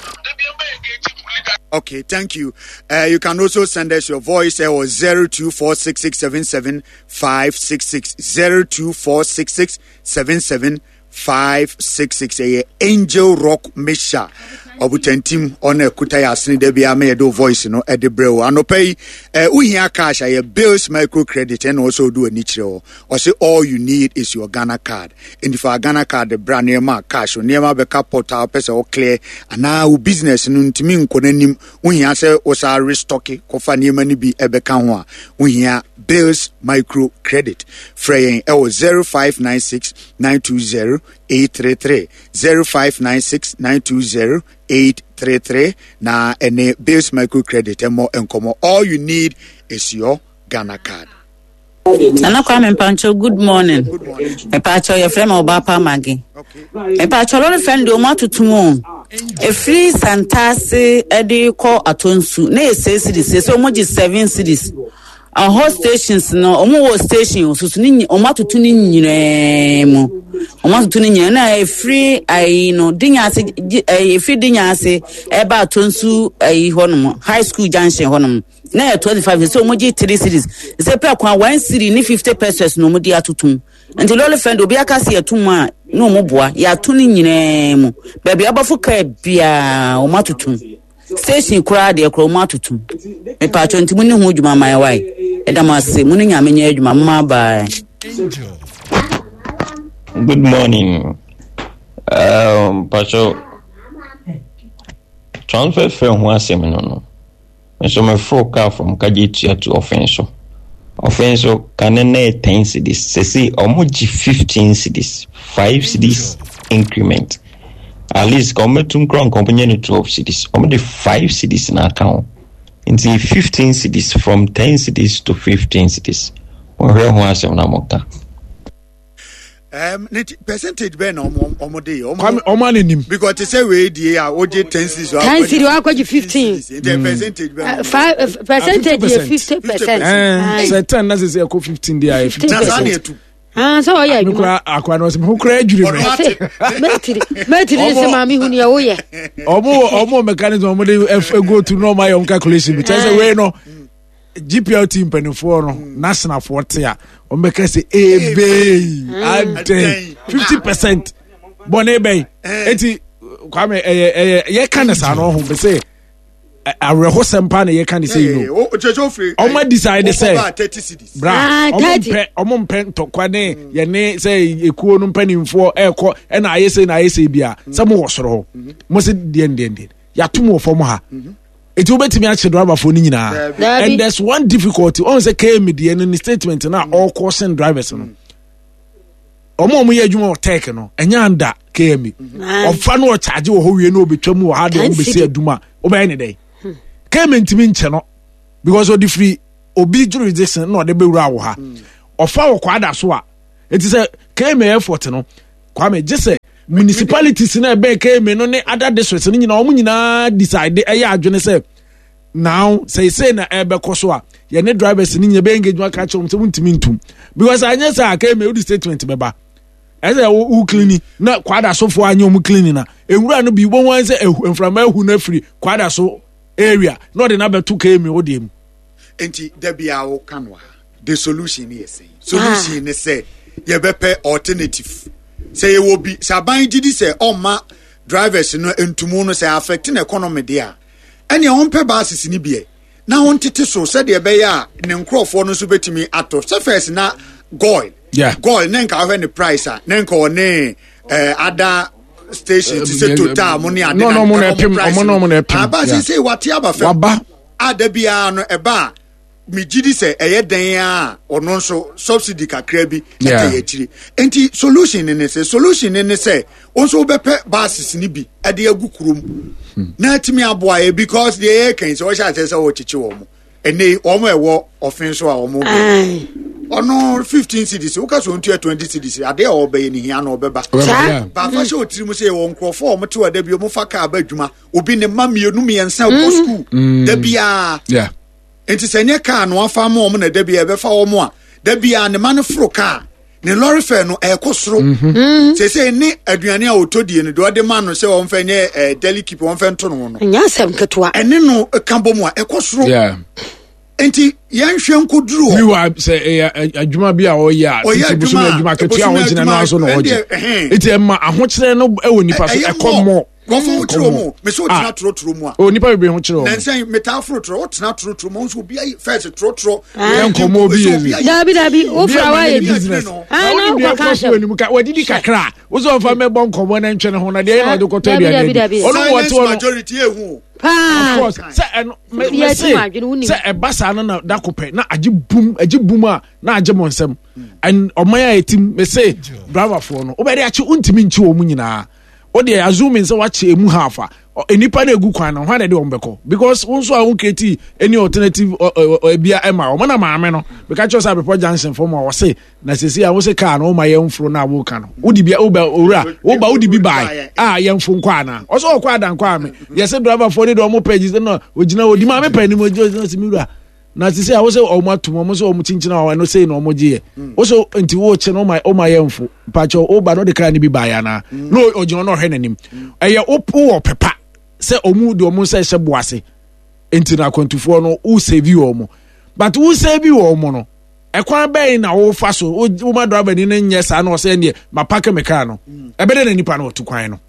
Okay, thank you. Uh, you can also send us your voice or zero two four six six seven seven five six six zero two four six six seven seven five six six. Ɛyɛ Angel Rock Misha ɔbutantim ɔna ɛkuta yɛ asene da bi ama yɛde o voice no ɛde brɛ o anɔpa yi. ɛɛ wohia cash a, yɛ Bills Micro Credit ɛna ɔsɛ ɔde w'ani kyerɛ hɔ. Ɔsɛ all you need is your Ghana Card. Nti fa Ghana Card bra, nneɛma a cash o nneɛma bɛka pot a wopɛ sɛ ɔclear anaa wo business no ntumi nkɔ n'anim, wohia sɛ wosa restock kɔfa nneɛma no bi ɛbɛka ho a, wohia Bills Micro Credit. Frɛ yɛn ɛwɔ zero five nine six nine two zero eight three three, zero five nine six nine two zero eight three three, na ɛne Bills Micro Credit ɛmmɔ nkɔmmɔ. All you need is your Ghana Card. Nana Kwame Mpancho, good morning. Mpancho, yɛfrɛ me Ɔba Pamage. Mpancho, lorry fare deɛ, ɔmo atoto mu o. Efiri Santase ɛde kɔ Atonsu na yɛ six cedis, sɛ ɔmo gye seven cedis. Ɔhɔ stations no, ɔmo wɔ station soso ne nyi- ɔmo atoto ne nyinaa mu. Ɔmo atoto ne nyinaa na efiri ayi no Dinya ase gye- ɛyi efiri Dinya ase ɛba Atonsu ayi hɔnom, High School Junction hɔnom na yɛ twenty five, sɛ ɔmo gye three cedis, sɛ pɛ kwan one cedi ne fifty pesewas na ɔmo de atoto mu. Nti lorry fare de, obi aka sɛ yɛto mu a na ɔmo boa yɛato ne nyinaa mu. Baabi abɔfo kaa biara ɔmo atoto mu, station koraa deɛ koraa ɔmo atoto mu. Mepatwɔ, nti mo ne ho dwuma man wae. Ɛda mo ase, mo ne Nyame nyɛ adwuma mo ma bye. Good morning. Um, Pacho, transfer fare ho asɛm no no. Nso meforo car from Kajetia to Ɔfɛn. Ɔfɛn so kane na yɛ ten cedis. Sese ɔmo gye fifteen cedis, five cedis increment. At least ka ɔmo tum kora nka ɔmo nyɛ no twelve cedis. Ɔmo de five cedis na aka ho. Nti fifteen cedis, from ten cedis to fifteen cedis. Wɔhwɛ ho asɛm na mo ka. um, ne ti percentage bɛn na ɔmo ɔmo de yɛ? Kwame, ɔmo ana nim. Because te sɛ wei die a wogye ten cedis. Ten cedi wakɔgye fifteen. Nti percentage bɛn? Uh, five uh, percentage yɛ fifty percent. Sɛ ten na sɛ sɛ ɛkɔ fifteen de a, yɛ fifty Na saa na percent. ɛtu. Ah, sɛ ɔyɛ Me adwuma. kora akora no ɔsɛ me ho kora adwiri me. Mɛtiri mɛtiri sɛ maame hu nea woyɛ. ɔmo ɔmo mechanism ɔmo de ɛf go through na ɔmo ayɛ ɔmo calculation bi kyerɛ sɛ wei no G P R T mpanimfoɔ no, nationalfoɔ te a, ɔmo bɛka sɛ ebee adɛn, fifty percent bɔnne bɛyi. Eti Kwame, ɛyɛ ɛyɛ yɛka ne saa no ɔho bɛ sɛ awerɛhosɛm paa na yɛka ne sɛ yi no ɔmo decide sɛ bra Ah, ɔmo thirty. mpɛ ɔmo mpɛ ntɔkwa ne yɛne sɛ ekuo no mpanimfoɔ ɛɛkɔ ɛna ayɛ sɛ na ayɛ sɛ bia sɛ mo wɔ soro hɔ, mo sɛ deɛ deɛ deɛ yɛato mo wɔ fam ha, eti wobɛtumi akyɛ driverfoɔ no nyinaa. Dabi. And there's one difficulty ɔn sɛ K M deɛ no ne statement na ɔkɔ sen drivers no, ɔmo a ɔmo yɛ adwuma wɔ Tech no, ɛnyɛ anda K M A. Ɔfa no ɔkyagye wɔ hɔ wie na ɔbɛtwa mu wɔ ha deɛ, ɔmo bɛsi adwuma Wobɛyɛ ne dɛn? K M A ntumi nkyɛ no because ɔde firi obi jurisdiction na ɔde bɛwura wɔ ha. Ɔfa wɔ Kwada so a, eti sɛ K M A effort no, Kwame, gye sɛ municipalities na ɛbɛn K M A no ne other districts no nyinaa, wɔn nyinaa decide, ɛyɛ adwene sɛ now sɛ sɛ na ɛbɛkɔ so a, yɛne drivers no nyinaa bɛyɛ engagement ka kyerɛ wɔn sɛ wɔntumi ntum, because anyɛ sɛ a K M A wodi statement bɛba, ɛsɛ wo wo cleaning na Kwada sofoɔ anyɛ wɔn cleaning na ewura no bi wɔn wɔn sɛ ehu mframa ehu no afiri Kwada so area na ɔde n'abɛto K M A wo deɛ mu. Nti da bia woka no a, the solution ne yɛ sɛn? Solution ne sɛ yɛbɛpɛ alternative. Sɛ yɛwɔ bi sɛ aban gye di sɛ ɔmma drivers no ntumu no sɛ affect ne economy deɛ a, ɛnea ɔmpɛ buses no biɛ na ɔntete so sɛdeɛ ɛbɛyɛ a ne nkurɔfoɔ no nso bɛtumi atɔ. Sɛ first na Goil, Yeah. Goil ne nka wohwɛ ne price a, ne nka ɔne eh, other station te sɛ Total mo ne ade. No, no, ɔmo na nka ɛpem, price ɔmo na ɔmo na ɛpem, aba. yeah. Sɛ wate aba fam. Waba. A da biara no ɛba a, megye di sɛ ɛyɛ dɛn a, ɔno nso subsidy kakra bi Yeah. ɛtɛ yɛ akyiri. Nti solution ne ne sɛ solution ne ne sɛ wo nso wobɛpɛ buses ne bi ɛde agu kurom na atumi aboa yɛ, because deɛ yɛyɛ kan sɛ wɔhyɛ aseɛ sɛ wɔkyekye wɔn mo ɛnɛ yi, wɔn a ɛwɔ ɔfen so a wɔn Aye. ɔno fifteen cedis, woka sɛ ɔntua twenty cedis, adeɛ a ɔbɛyɛ ne hia na ɔbɛba. Saa. Yeah. Baafa hyɛ otiri mu sɛ yɛwɔ nkurɔfoɔ a wɔte hɔ da bi wɔn fa kaa ba adwuma, obi ne mma mmienu mmiɛnsa kɔ sukuu da biara. Yeah. Nti sɛ nyɛ kaa no afa ma wɔn na da biara ɛbɛfa wɔn a, da biara ne ma no foro kaa ne lorry fare no ɛkɔ soro. Sese ne aduane a ɔtɔ die no deɛ ɔde ma no sɛ wɔmfɛ nyɛ ɛɛ daily keep, wɔmfɛ nto no ho no, Ɛnyɛ asɛm ketewa. Ɛne no ka bɔ mu a, ɛkɔ soro. Yeah. Nti yɛnhwɛ nkɔduru hɔ. Meanwhile, sɛ ɛyɛ ɛ- adwuma bi a ɔyɛ a, Ɔyɛ titi bosomi adwuma a, adwuma ketewa a bosome ɔgyina no adwuma, so na ɔgye. ɛndeɛ, ɛhɛn. Nti ɛma ahokyerɛ no ɛwɔ nipa so. Ɛyɛ Ɛkɔ mmɔ. Nkurɔfoɔ ho kyerɛ wɔn, mɛ sɛ wotena Ah. torotoro mu a, O, nipa bebree ho kyerɛ wɔn. Nansɛn metaa foro torɔ, wotena torotoro mu nso, obi ayi fɛs torotoro. Yɛ nkɔmmɔ obi yɛ bi. Dabi, dabi, wofura Obi wa a yɛ ma ne business. Ah, Na na wode deɛ wokɔka ɛkɔ so asɛm. anim ka wadidi kakra a, wo sɛ ɔmfa mɛbɔ nkɔmmɔ no ntwene ho na deɛ ɛyɛ na ɔde kɔtɔ Dabi, aduane dabi, adi. dabi. Ɔno mu wɔte Silence hɔ no majority ehu o. Paa. Of course, sɛ ɛno mɛ Obi mɛ ati se mu adwene, wonim. sɛ ɛba saa no na dako pɛ na agye bum, agye bum a na agye mo nsɛm. And ɔman a yɛtim, mɛ se driverfoɔ no wobɛde akye, wontumi nkye wɔn mu nyinaa. O deɛ, assuming sɛ wakye emu half a, ɔ- nipa na egu kwan no hwan na ɛde wɔn bɛkɔ? Because wɔn nso a wɔn create any alternative ɔ- ɔ- ɔ- ebia ɛma wɔn na maame no bɛka kyerɛ sɛ Abepɔ Junction fam a wɔse na sisi a wɔse kaa no wɔma yɛn mforo na wɔka no wodi bi woba owura woba wodi bi baa a yɛn mfo nkɔ ana ɔsɛ ɔkɔ adankɔ ame yɛsɛ driverfoɔ ne deɛ ɔmo pɛ gyi sɛ na ogyina odi maame pɛ anim ogyina ogyina sɛ mi wura na sisi a wosɛ ɔmo atum ɔmo sɛ ɔmo kyinkyin a ɛno sei na ɔmo gye yɛ wosɛ nti wɔɔkye no ɔma ɔma yɛn mfo mpakyɛw ɔba no ɔde kaa no bi baa yɛ anaa na ɔgyina na ɔhwɛ n'anim ɛyɛ wowɔ pɛpa sɛ ɔmo de ɔmo nsa ɛhyɛ bo ase. Nti na akwantufoɔ no wo save wɔn, but wo save wɔn no, ɛkwan bɛn na wofa so woma driver ni no nyɛ saa na ɔsɛ neɛ ma park me car no ɛbɛdɛ na nipa no ɔtu kwan no?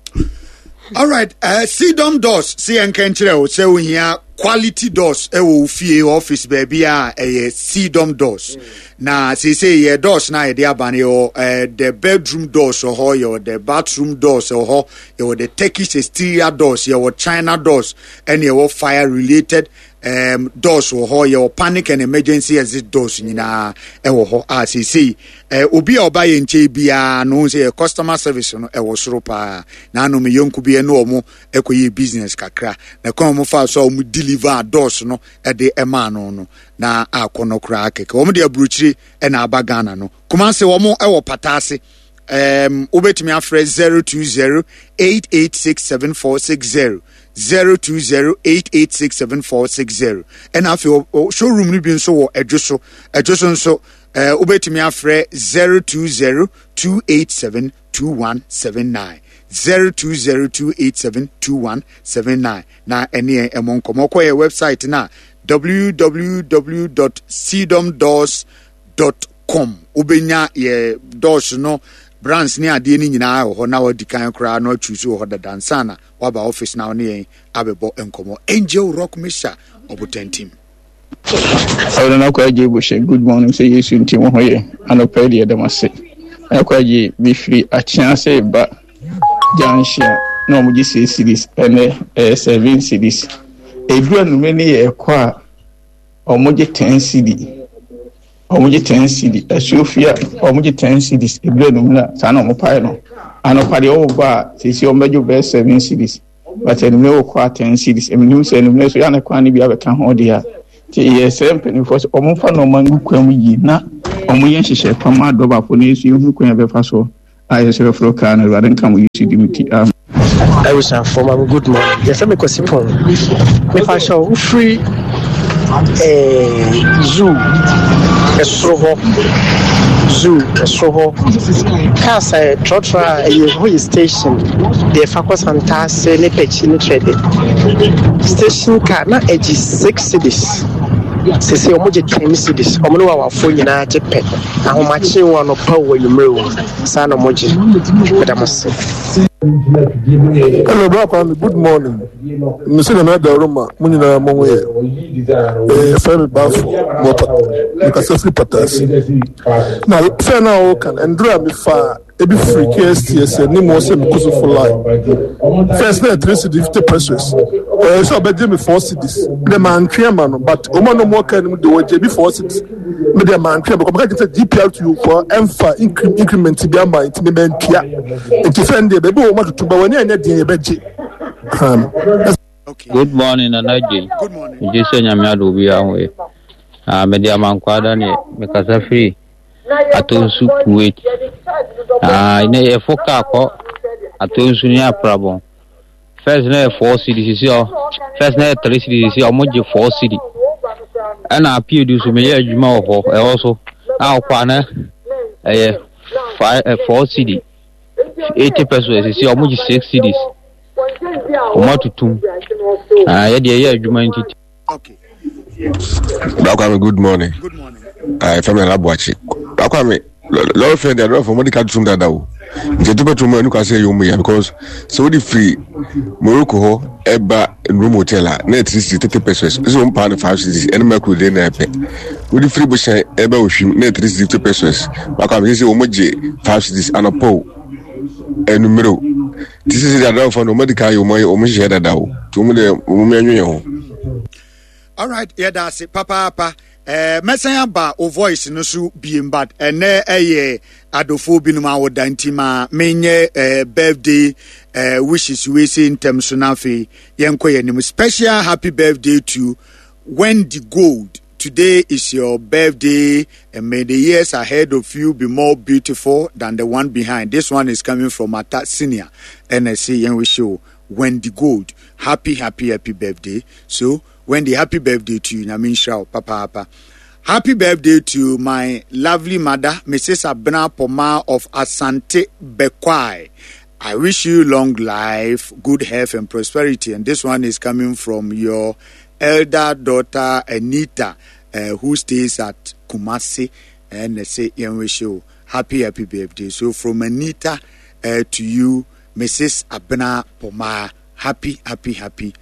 Alright, uh, Cedom Doors si yɛn nkyerɛ o sɛ ohia quality doors ɛwɔ wo fie, office, baabi a ɛyɛ Cedom Doors. Na seesei yɛ doors na yɛde aba no, yɛwɔ uh, the bedroom doors wɔ hɔ, yɛwɔ the bathroom doors wɔ hɔ, yɛwɔ the Turkish exterior doors, yɛwɔ China doors, ɛne yɛwɔ fire related um, doors wɔ hɔ, yɛwɔ panic and emergency exit doors nyinaa ɛwɔ hɔ. A seesei eh, obi a ɔba yɛn nkyɛn biara no sɛ yɛ customer service no ɛwɔ soro paa. Na anom yɔnko bi ɛne ɔmo ɛkɔyɛ business kakra na kwan ɔmo fa so a ɔmo deliver doors no ɛde ɛmaa no no na akɔ no koraa kɛkɛ. Wɔn de aburokyire ɛna aba Ghana no. Kumase wɔn ɛwɔ Pataase. um, wobɛtumi afrɛ zero two zero eight eight six seven four six zero, zero two zero eight eight six seven four six zero. Ɛna afei showroom no bi nso wɔ Ɛdwo so. Ɛdwo so nso uh, wobɛtumi afrɛ zero two zero two eight seven two one seven nine, zero two zero two eight seven two one seven nine. Na ɛne yɛn ɛmɔ nkɔmmɔ. Kɔ yɛ website na w w w dot cdomdoors dot com, wobɛnya yɛ doors no brands ne adeɛ no nyinaa wɔ hɔ na wadi kan koraa na watwi so wɔ hɔ dada nsa na waba office na wo ne yɛn abɛbɔ nkɔmmɔ. Angel Rock Mixture ɔbotantim. Ɔno na akɔ agye buhyɛ. Good morning, sɛ Yesu nti mo ho yɛ. Anɔpa yi deɛ dɛm ase akɔ agye mefiri akyea sɛ ba junction a na wɔn gye six cedis, ɛnɛ ɛyɛ seven cedis. Edu anumere ne yɛ ɛkɔ a, wɔn gye ten cedi, wɔn gye ten cedi. Asuofia wɔn gye ten cedis edu anumere a, saa na wɔn pae no. Anɔpa deɛ wɔwɔ ba a, sisi wɔn bɛgye bɛyɛ seven cedis. But anwummerɛ wokɔ a ten cedis. Menim sɛ anwummerɛ so yɛ a na kwan no bi abɛka ho deɛ a. Nti yɛsrɛ mpanimfoɔ sɛ wɔmfa nneɛma ngu kwan mu yie na wɔnyɛ nhyehyɛe pa ma adɔbafo no nso yɛhunu kwan a yɛbɛfa so a yɛsɛ bɛforo kaa no. Awurade nka mo Yesu din mu nti, amen. Abusuafoɔ ma me good morning. Yɛfrɛ me Kwasi Pɔn. Mepa kyɛw wofiri eh, zoo ɛsoro hɔ zoo ɛsoro hɔ cars a trɔtrɔ a ɛyɛ hɔ yɛ station deɛ ɛfa kɔ Santase ne Pɛkyi ne Trɛde station car na ɛgye six cedis sese wɔn gye ten cedis wɔn ne wawafoɔ nyinaa gye pɛ ahomakye wɔ anɔpa wɔ anwummerɛ wɔ saa na wɔn gye meda mo se. Hello, Bra Kwame. Good morning. Mese Nana Daruma, mo nyinaa mo ho yɛ. Eh, yɛfrɛ me Bafo, mewɔ Pat- mekasa firi Patase. Na fɛ no a wɔka no, ndura a mefaa ebi firi K S T S anim hɔ sɛ mekɔ so for line. First na yɛ three cedi fifty pesos. Ɔyɛ sɛ ɔbɛgye me four cedis. Mede mantwe ama no, but wɔn a na wɔwɔ kaa no mu de wɔgye bi four cedis. Mede mantwe ama, because meka kyerɛ sɛ G P R T U foɔ ɛmfa incre- increment bi ama nti me mantua. Nti fɛn deɛ baabi wɔ wɔn atoto ba wɔn ani anyɛ deɛ yɛbɛgye. Um, Good morning, Nana Jay. Good morning. Megye sɛ Nyame adom obiara ho yɛ. Ah, mede Amankwaa Daniel, mekasa firi Atonsu, Kuwait. Ah, ne yɛfo kaa kɔ Atonsu ne Aprabɔn. First na yɛ four cedi, sisi ɔ. First na yɛ three cedi, sisi ɔmo gye four cedi. Ɛna Apiedu so meyɛ adwuma wɔ hɔ, ɛhɔ so. Na ɔkɔ a na ɛyɛ five, eh, four cedi. Eighty pesos, sisi ɔmo gye six cedis. Ɔmo atutum. Ah, yɛ deɛ yɛ adwuma nti. Bra Kwame, good morning. Good morning. Ah, fɛn mi nana Buakye. Bra Kwame, lɔri fɛn deɛ lɔri fɛn mo de ka tum dada o. Nti etu bɛtum mu ɛnu ka sɛ ɛyɛ ɔmu ya because sɛ o de firi Morocco hɔ ɛba Nrom Hotel a na yɛ three cedis thirty pesos. Ɛsɛ wɔn paa no five cedis ɛne Mercury de na ɛpɛ. O de firi Bohyɛn ɛba Ohwim na yɛ three cedis fifty pesos. Bra Kwame sɛ sɛ wɔn gye five cedis anɔpɔ o ɛnumere o. Ti sɛ sɛ adanfo no wɔn adi ka yɛ wɔn wɔn hyehyɛ dada o. Ti wɔn deɛ wɔn mu ɛnwe yɛn ho. Alright, yɛda ase papaapa. Eh, mɛsan aba o voice no so biem, but ɛnɛ ɛyɛ adɔfoɔ binom awoda nti ma menyɛ eh, birthday eh, wishes wei se ntɛm so na afei yɛnkɔ yɛn anim. Special happy birthday to Wendy Gold. Today is your birthday, and may the years ahead of you be more beautiful than the one behind. This one is coming from Ata Senior. And I say, yɛn wish you Wendy Gold. Happy, happy, happy birthday. So, Wendy, happy birthday to you. Nyame nhyira wo papaapa. Happy birthday to my lovely mother, Missus Abena Poma of Asante Bekwai. I wish you long life, good health, and prosperity. And this one is coming from your elder daughter, Anita, uh, who stays at Kumasi. And they say, "Yɛn wish you happy, happy birthday." So from Anita uh, to you, Missus Abena Poma, happy, happy, happy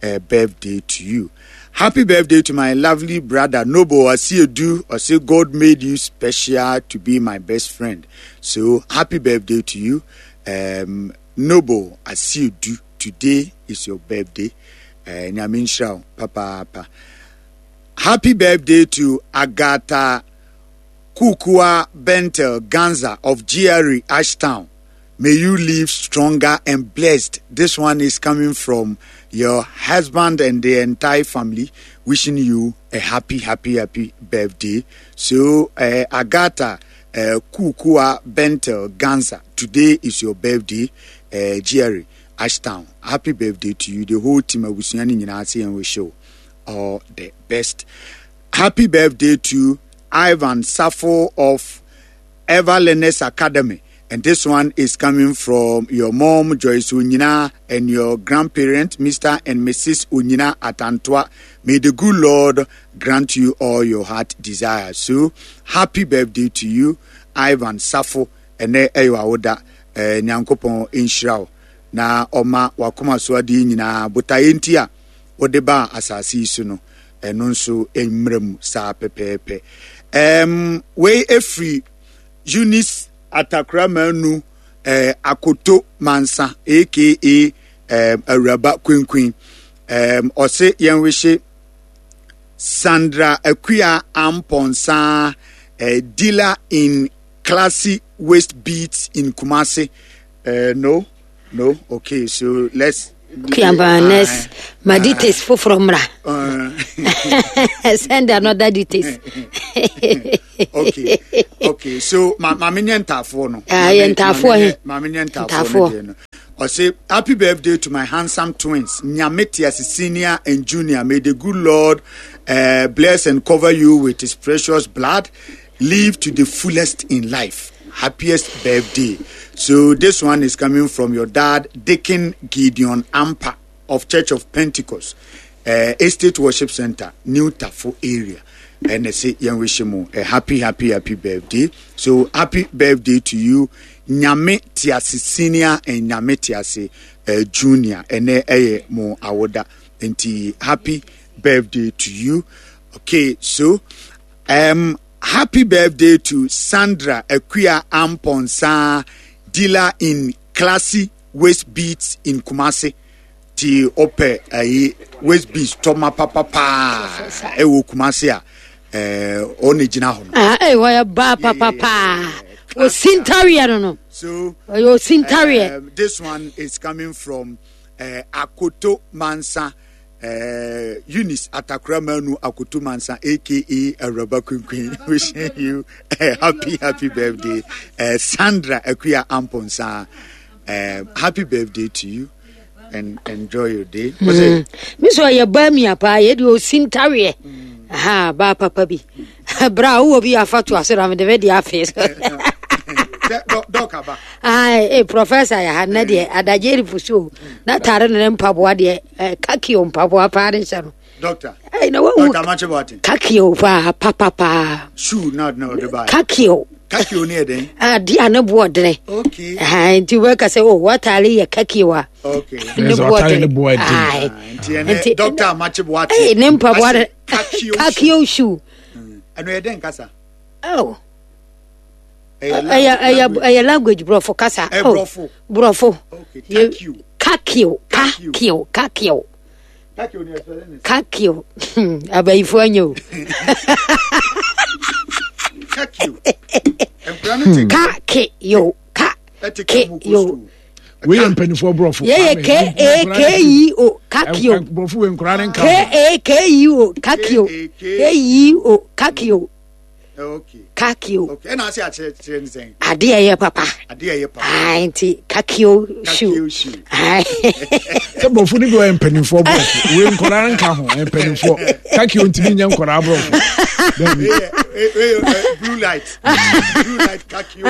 uh, birthday to you. Happy birthday to my lovely brother Nobo Asiedu. I say God made you special to be my best friend. So happy birthday to you, um, Nobo Asiedu. Today is your birthday. Uh, Nyame nhyira wo papaapa. Happy birthday to Agatha Kukua Bentel Ganza of G R E Ashtown. May you live stronger and blessed. This one is coming from your husband and the entire family, wishing you a happy, happy, happy birthday. So, uh, Agatha uh, Kukua Bentel Ganza, today is your birthday, uh, Jerry Ashtown. Happy birthday to you. The whole team of Busuani nyinaa say and wish you all the best. Happy birthday to Ivan Safo of Ever Learners Academy. And this one is coming from your mom, Joyce Unyina, and your grandparents, Mister and Missus Unyina Atantua. May the good Lord grant you all your heart desires. So, happy birthday to you, Ivan Safo. Ɛnɛ ɛyɛ w'awoda. Eh, Nyankopɔn nhyira wo na ɔma wakoma so adeɛ nyinaa botaeɛ nti a wode baa asase yi so no ɛno nso mmerɛ mu saa pɛpɛɛpɛ. um, wei efiri Eunice Atakora Manu eh, Akoto Mansa aka um, Awuraba Kwenkwen. um, ɔse yɛn wehye Sandra Akua Amponsa, eh, dealer in classy waist beads in Kumasi. Uh, no, no. Okay, so let's Kiamba next ma details foforɔ mmra. Send another details. Okay, okay, so ma maame nyɛ ntaafoɔ no. Ah, yɛ ntaafoɔ he. Maame nyɛ ntaafoɔ no deɛ no. Ɔse happy birthday to my handsome twins Nyame Tease Senior and Junior. May the good Lord uh, bless and cover you with his precious blood. Live to the fullest in life. Happiest birthday. So this one is coming from your dad, Deacon Gideon Ampa of Church of Pentecost, uh, Estate Worship Center, New Tafo area. And I say, yɛn wish mu a happy, happy, happy birthday. So happy birthday to you, Nyame Tiase Senior and Nyame Tiase uh, Junior. Ɛnɛ ɛyɛ mo awoda. Nti happy birthday to you. Okay, so um, happy birthday to Sandra Akuya Amponsa, dealer in Classy Waist Beats in Kumasi. Ti ɔpɛ ayi waist beats tɔma papapaa ɛwɔ Kumasi a ɛɛ ɔna gyina hɔ no. Ah, eh, wɔyɛ baa papapaa. Osintareɛ no no. So Ɔyɛ osintareɛ. Um, this one is coming from uh, Akoto Mansa, uh, Eunice Atakura Manu Akoto Mansa, aka Araba Queen, wishing you a happy, happy birthday. Uh, Sandra Akuya Amponsa, uh, happy birthday to you and enjoy your day. What's it? Mi sɛ ɔyɛ baa mia paa yɛ de osintareɛ. Aha, baa papa bi. Bra wowɔ bi afa to ase na mede bɛ de afe so. Doc Aba. Ai, eh, professor yɛ ha nnɛ deɛ adagye refu so o. Na tare ne ne mpaboa deɛ eh, kaki o mpaboa paa ne hyɛ no. Doctor. Ai, na wawu Doctor Machibatin. kaki o paa papapaa. Shoe now, no, the buy. Kaki o. Kaki o near then. Ade a ne boɔ dene. Okay. Aha, nti wobɛka sɛ o wataale yɛ kaki o a. Okay. Ne Ɛsɛ boɔ ɔtare dene. ne boɔ den. Ai. Nti ɛnɛ Doctor Machibatin. Ei, ne mpaboa de Kaki o. kaki o shoe. Ɛno yɛ dɛn kasa? Oh. Ɛyɛ ɛyɛ ɛyɛ ɛyɛ language borɔfo kasa. Ɛ Oh, borɔfo. Borɔfo. Okay, Ye- Kakio, kakio, kakio, Kakio ni ɛsɛ ne. kakio. Abayifo anya o. Kakio. Nkura no te Kakio, ɛte ka mu kɔ kakio. sukuu. Wei yɛ mpanimfoɔ borɔfo. Yɛyɛ Kwame, K A K E O, kakio. Ɛ- ɛ- Borɔfo wei nkura ne nka K ho. A K E O, kakio. K E O, kakio, Okay. kakio. Okay. Ɛna ase akyerɛkyerɛ ne sɛn. Ade a ɛyɛ papa. Ade a ɛyɛ papa. Ah, nti kakio shoe. Kakio shoe. Ai. Sɛ borɔfo no bi wɔ yɛ mpanimfoɔ borɔfo. Wei nkɔraa nka ho ɛ, mpanimfoɔ. Kakio ntumi nyɛ nkɔraa borɔfo. Dabi. Wei yɛ- wei- wei yɛ, eh, blue light. Blue light kakio.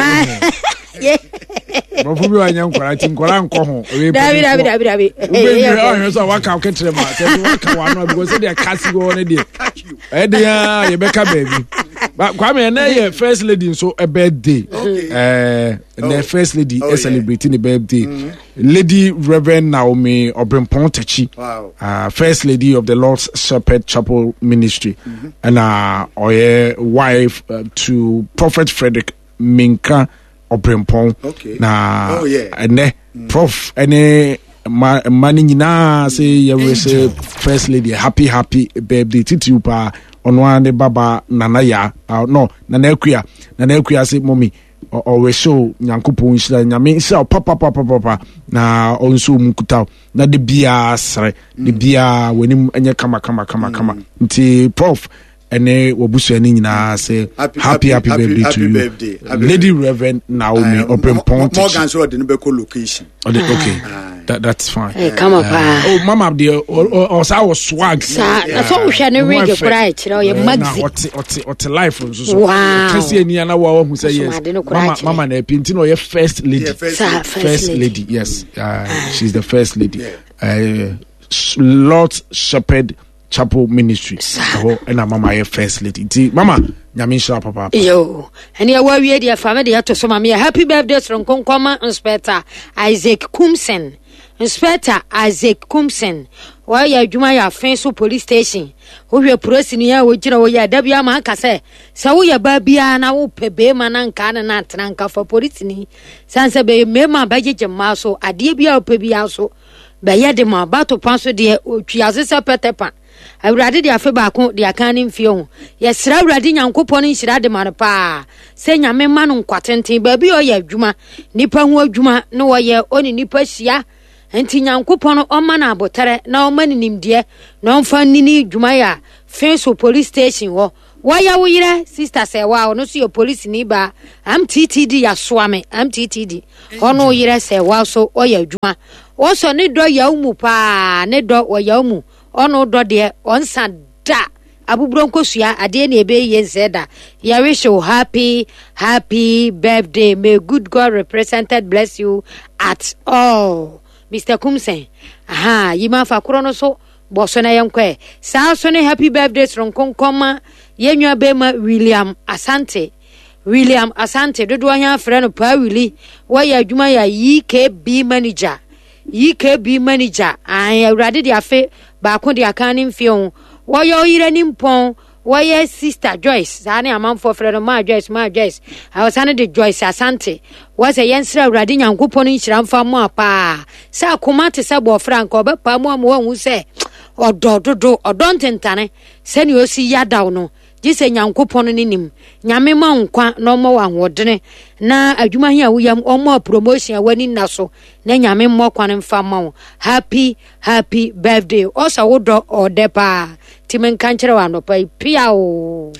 Borɔfo bi wɔ nyɛ nkɔraa nti nkɔraa nkɔ ho. Wei Dabi, dabi, mpanimfoɔ. dabi, dabi. Wobɛnwere ɔhwɛ sɛ waka wo ketere ma sɛ sɛ waka w'ano a because sɛdeɛ kasi wɔ no deɛ ɛyɛ den a yɛbɛka baabi. Ba- Kwame ɛnɛ yɛ first lady nso ɛ birthday. Ɛɛ ɛnɛ first lady Oh, ɛ celebrate ne birthday. Lady Reverend Naomi Obrempong Techi. Wow. Uh, first lady of the Lord's Shepherd Chapel Ministry, and uh, ɔyɛ wife uh, to Prophet Frederick Minka Obrempong. Okay. Na Oh, yeah. ɛnɛ Prof ɛne mma mma no nyinaa sɛ yɛwɛ sɛ first lady happy happy birthday titiriw paa ɔno ara ne baba Nana Ya uh, no Nana Akua Nana Akua sɛ mɔmi ɔwɛ sɛ o Nyankopɔn nhyira Nyame nhyira wo papapapapa na ɔnso mu nkuta wo na de biara serɛ de biara w'anim nyɛ kama kama kama kama nti Prof ɛne wabusua no nyinaa sɛ Happy- happy happy happy- birthday happy to you birthday. Happy Lady Reverend Naomi Obrempong Morgan Techi. so ɔde no bɛkɔ location. Ɔde okay that, that's fine. Eh, kama paa. Oh, mama deɛ ɔsaa wɔ swag. Saa, na sɛ wohwɛ ne Ne ho wig yɛ fɛ. koraa ɛkyerɛ ɔyɛ Eh, na maxi. ɔte ɔte ɔte life nso so. Wow. Ɔkɛse ani ana wa wahu sɛ yes. Asomade no koraa Mama kyerɛ. mama na ɛpi nti na ɔyɛ first lady. Yeah, first Saa, lady. first First lady. lady, yes. Uh, she's the first lady. Uh, Lord Shepherd Chapel Ministry. Ɛhɔ ɛna mama yɛ first lady. Nti mama Nyame nhyira papaapa. Yo, ɛne ɛwɔ awie deɛ fa me deɛ to so ma meyɛ happy birthday soronko nkɔma Inspector Isaac Kumson. Inspector Isaac Kumson wɔyɛ adwuma yɛ Afe so police station. Wohwɛ polisini a wogyina hɔ yi a, da bi ama aka sɛ sɛ woyɛ baa biara na wopɛ beema na nkaa ne no atena nka fa polisini sane sɛ bɛyɛ mmarima a bɛgyegye mmaa so adeɛ bi a wopɛ biara so bɛyɛ de ma bato pa so deɛ ɔtwi ase sɛ pɛtɛ pa. Awurade de afe baako de aka ne mfie ho. Yɛsrɛ Awurade Nyankopɔn no nhyira de ma no paa sɛ Nyame ma no nkwa tenten baabi a ɔyɛ adwuma, nnipa ho adwuma na wɔyɛ ɔne nnipa hyia Nti Nyankopɔn ɔma no abotare na ɔma no nimdeɛ na ɔmfa nnini dwuma yɛ a Fenso police station hɔ. Wɔyɛ wo yerɛ sister sɛ wa ɔno nso yɛ police ni ba M T T D yasoa me M T T D ɔno yerɛ sɛ wa so ɔyɛ adwuma. Wɔsɔ ne dɔ yaw mu paa ne dɔ ɔyaw mu ɔno dɔ deɛ ɔnsa da abuburo nkosua adeɛ na ebe yie nsɛ da. Yɛ wish you happy happy birthday. May good God represented bless you at all. Mister Kumsen, aha yima fa koro no so bɔso na yɛnkɔ. Saa so ne happy birthday soronkonkɔma yɛnwa bɛma William Asante. William Asante dodoɔ hia frɛ no Paa Willy. Wɔyɛ adwuma yɛ E K B manager. E K B manager. Ai awurade de afe baako de aka ne mfie ho. Wɔyɛ ɔyere ne mpɔn. Wɔyɛ sister Joyce. Saa ne amanfoɔ frɛ no Ma Joyce, Ma Joyce. Awɔsa de Joyce Asante. Wɔsɛ yɛnsrɛ awurade Nyankopɔn nhyira mfa mo a paa. Sɛ akoma te sɛ bɔfra nka ɔbɛpa mu ama wɔahu sɛ ɔdɔ dodo, ɔdɔ ntentane. Sɛnea osi yadaw no, gye sɛ Nyankopɔn ne nim. Nyame ma nkwa na ɔmmɔ wɔ ahoɔdene. Na adwuma hia woyam ɔmmɔ promotion a wani nna so. Na Nyame mmɔ kwan mfa ma wo. Happy happy birthday. Ɔsɛ wo dɔ ɔdɛ paa. Ti menka nkyerɛ wo anɔpa yi pia o.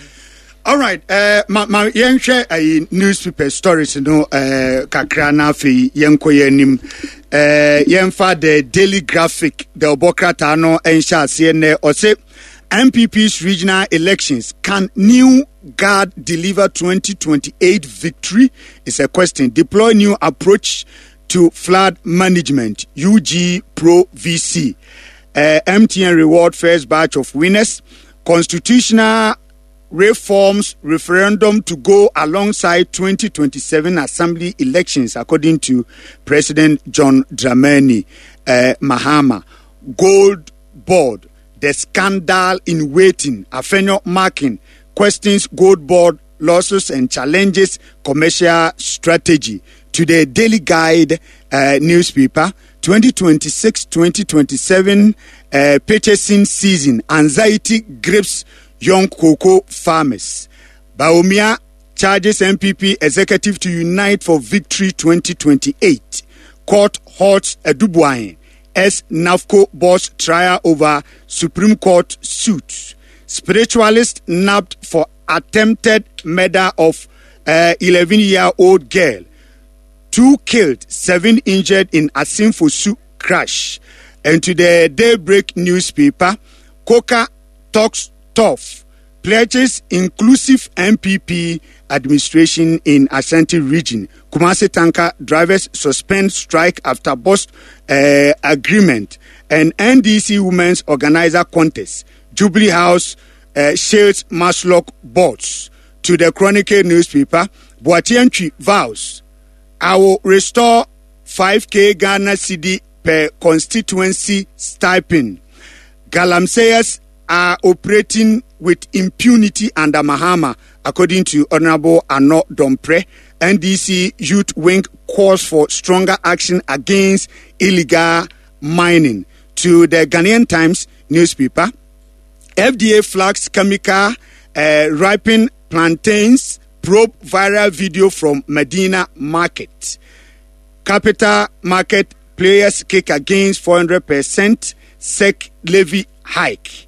All right, uh, ma ma yɛnhwɛ ayi newspaper stories no uh, kakra na afei yɛnkɔ yɛn anim. Uh, yɛmfa the Daily Graphic, the ɔbɔkrataa no nhyɛ aseɛ nɛ. Ɔse N P P's regional elections, can new guard deliver twenty twenty-eight victory? It's a question. Deploy new approach to flood management, U G Pro V C. Uh, M T N reward first batch of winners. Constitutional reforms referendum to go alongside twenty twenty-seven assembly elections, according to President John Dramani uh, Mahama. Gold Board, the scandal in waiting. Afenyo Markin questions Gold Board losses and challenges commercial strategy. To the Daily Guide uh, newspaper, twenty twenty-six twenty twenty-seven uh, purchasing season, anxiety grips young cocoa farmers. Bawumia charges N P P executive to unite for victory twenty twenty-eight. Court halts Adu-Boahene S. NAFCO boss trial over Supreme Court suit. Spiritualist nabbed for attempted murder of eleven-year-old girl. Two killed, seven injured in Asimfosu crash. And to the Daybreak newspaper, Coca talks tough, pledges inclusive N P P administration in Ashanti region. Kumasi tanker drivers suspend strike after bust uh, agreement. And N D C women's organizer contest. Jubilee House uh, shields Masloc boards. To the Chronicle newspaper, Boakye vows, I will restore five K Ghana cedi per constituency stipend. Galamseyers are operating with impunity under Mahama, according to Honorable Ano Dompre. N D C Youth Wing calls for stronger action against illegal mining. To the Ghanaian Times newspaper, F D A flags chemical uh, ripened plantains, probe viral video from Medina Market. Capital market players kick against four hundred percent S E C levy hike.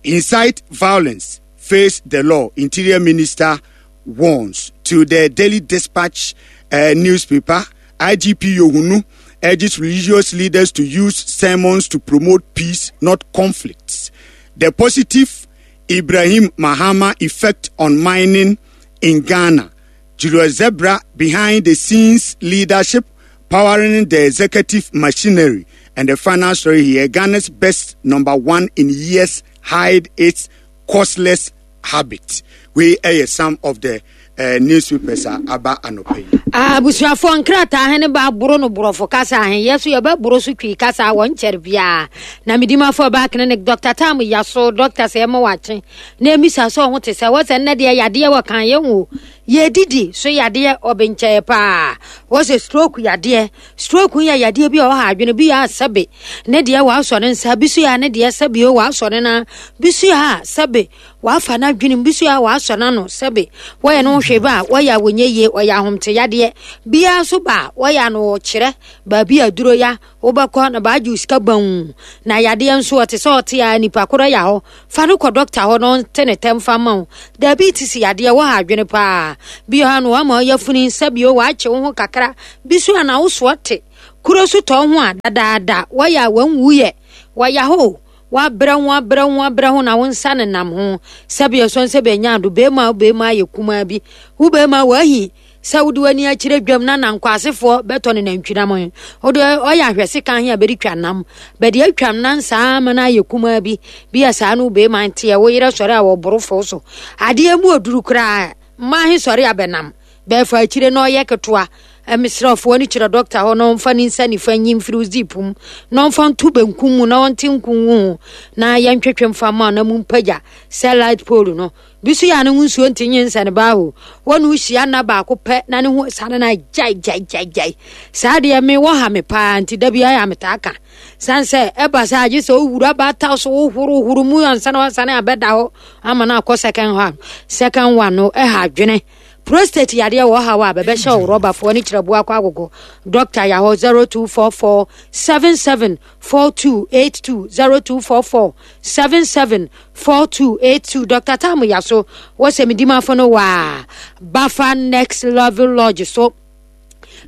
Incite violence, face the law, Interior Minister warns. To the Daily Dispatch uh, newspaper, I G P Yohunu urges religious leaders to use sermons to promote peace, not conflicts. The positive Ibrahim Mahama effect on mining in Ghana. Julius Zebra behind the scenes leadership powering the executive machinery. And the final story here, Ghana's best number one in years hide its costless habit. We are some of the uh, newspapers are aba anope. Ah, busuafo nkrata hene ba boro no borofo kasa hen yesu ye ba boro so twi kasa won cher bia na midimafo ba clinic Doctor Tam yaso doctor se ma wache na emisa so ho te se wo se nne de yade wo kan ye ho ye didi so yade obenche pa wo se stroke yade stroke ya yade bi o ha adwene bi ya sebe ne de wa so ne nsa bi so ya ne de sebe o wa so ne na bi so ya sebe wa fa na adwene bi so ya wa so na no sebe wo ye no hwe ba wo ya wonye ye wo ya ahomte yade yadeɛ biara so ba wɔyɛ ano wɔkyerɛ baabi aduro ya wobɛkɔ na baagye sika ban na yadeɛ nso ɔte sɛ ɔte a nipa korɔ ya hɔ fa no kɔ dɔkta hɔ na ɔnte ne tɛm fa ma wo diabetes yadeɛ wɔ ha adwene paa bi ha no wama ɔyɛ funi nsa bio waakye wo ho kakra bi so ana wo soɔ te kuro so tɔ ho a dadaada wɔyɛ a wanwu yɛ wɔyɛ hɔ wabrɛ ho abrɛ ho abrɛ ho na wo nsa nenam ho sɛbi ɛsɔ nsɛ bɛnya ado bɛrima wo bɛrima ayɛ kumaa bi wo bɛrima wahi sɛ wode w'ani akyerɛ dwam na nankwasefoɔ bɛtɔ ne nantwinam wode ɔyɛ ahwɛse ka he a bɛde twa nam bɛde atwam nan saa ma no ayɛ kumaa bi bi a saa no wo bɛrima nteɛ wo yerɛ sɔre a wɔboro fo so adeɛ mu oduru koraa mmaa he sɔre a bɛnam bɛɛfa akyire na ɔyɛ ketewa mesrɛfoɔ no kyerɛ dɔkta hɔ na ɔmfa ne nsa nifa nyi mfiri wo zip mu na ɔmfa nto benkum mu na ɔnte nku ho na yɛntwetwe mfa ma na mu mpagya sɛ light pole no bi so yɛ a ne ho nsuo nti nye nsa ne baa ho wɔne wo hyia nna baako pɛ na ne ho sane no agyae gyae gyae gyae saa deɛ me wɔ ha me paa nti da biara yɛ a metaa ka san sɛ ɛba sɛ agye sɛ wowura baata so wohorohoro mu ansa na wasane abɛda hɔ ama no akɔ second one second one no ɛha adwene prostate yadeɛ wɔ ha a bɛbɛhyɛ wo rɔbafoɔ ne kyerɛboa akɔ agogo dɔkta yɛ hɔ zero two four four seven seven four two eight two zero two four four seven seven four two eight two dɔkta tam yɛ so wɔsɛ medimafo no waa bafa next level lodge so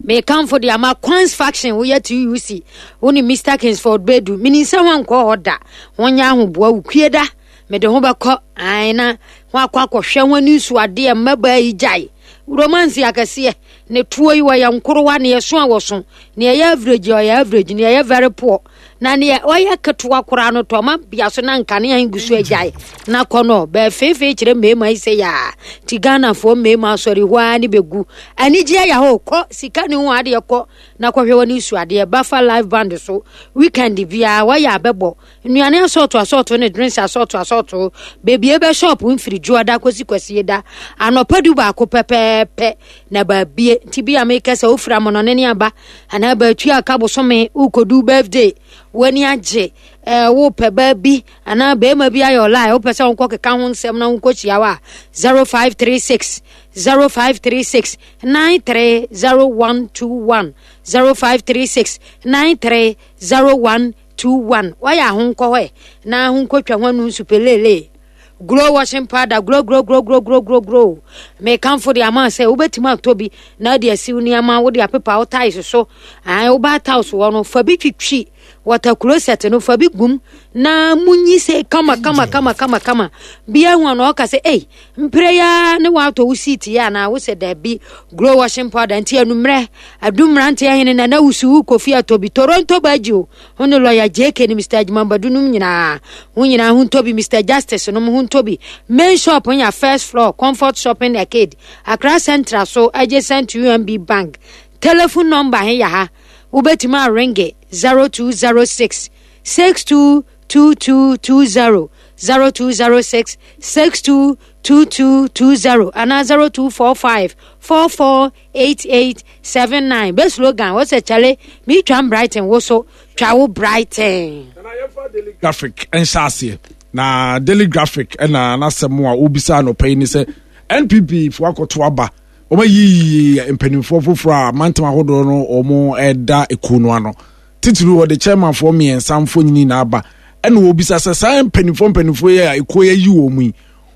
mekamfo de ama Quans faction woyɛ T U C wo ne Mister Kingsford Bedu menim sɛ ho ankɔ hɔ da wonyɛ ahoboa wo kue da mede ho bɛkɔ ae na ho akɔ akɔhwɛ ho ani so adeɛ mmabaa yi gyae romance akɛseɛ ne toɔ yi wɔyɛ nkorowa ne ɛso a wɔso ne ɛyɛ average ɔyɛ average ne ɛyɛ very poor na neɛ ɔyɛ ketewa koraa no tɔma bia so na nkanea gu so agyae na kɔ no bɛɛfeefee kyerɛ mmarima yi sɛ yaa nti Ghanafoɔ mmarima asɔre hɔ ara ne bɛgu anigyeɛ yɛ hɔ kɔ sika ne ho adeɛ kɔ na kɔhwɛ wɔ ne su adeɛ bafa live band so weekend biara wɔyɛ abɛbɔ nnuane asɔɔto asɔɔto ne drinks asɔɔto asɔɔto beebi ebe shop mfiri dwoada kɔsi kwasie da anɔpa du baako pɛpɛɛpɛ na baabie nti bi a meka sɛ wofiri amɔnɔne ne aba anaa baatua aka bosome wokɔdu birthday w'ani agye ɛɛ wopɛ baa bi anaa bɛrima bi ayɛ ɔlaa wopɛ sɛ wonkɔ keka ho nsɛm na wonkɔ hyia wo a zero five three six zero five three six nine three zero one two one zero five three six nine three zero one two one wayɛ ahonkɔ hɔ ɛ na ahonkɔ twa ho anu nsupelele Glow washing powder, glow glow glow glow glow glow glow. Mekamfo de ama sɛ wobɛtumi atɔ bi na wode asiw nneɛma wode apepa wo tiles so ae wobaa tiles wɔ no fa bi twitwi water closet no fa bi gum na munyi sɛ kama kama kama kama kama bia hu ano ɔka sɛ ei mpere ya ne waatɔ wo seat yɛ anaa wo sɛ daabi. Glow washing powder nti anummerɛ adu mmeranteɛ hene na na wusu wo kofi atɔ bi Toronto bagye o ho ne lawyer J K ne Mister Adwumambadu nom nyinaa ho nyinaa ho ntɔ bi Mister Justice nom ho ntɔ bi. Main shop nya first floor, Comfort Shopping Arcade, Accra Central so adjacent to U M B Bank. Telephone number he yɛ ha wobɛtumi arenge zero two zero six six two two two two zero, zero two zero six six two two two two zero anaa zero two four five four four eight eight seven nine. Bɛ slogan wɔ sɛ kyale meetwam Brighton wo so twa wo Brighton. Graphic nhyɛ aseɛ na Daily Graphic ɛna n'asɛm a obisa anɔpa yi ni sɛ N P P fo akɔto aba wɔn ayiyi mpanimfoɔ foforɔ a mantam ahodoɔ no wɔn ɛda ekuo no ano titiri wɔde chairmanfoɔ mmiɛnsa mfonini na aba ɛna wɔbisa sɛ saa mpanimfoɔ mpanimfoɔ yi a ekuo yi ayi wɔn mu yi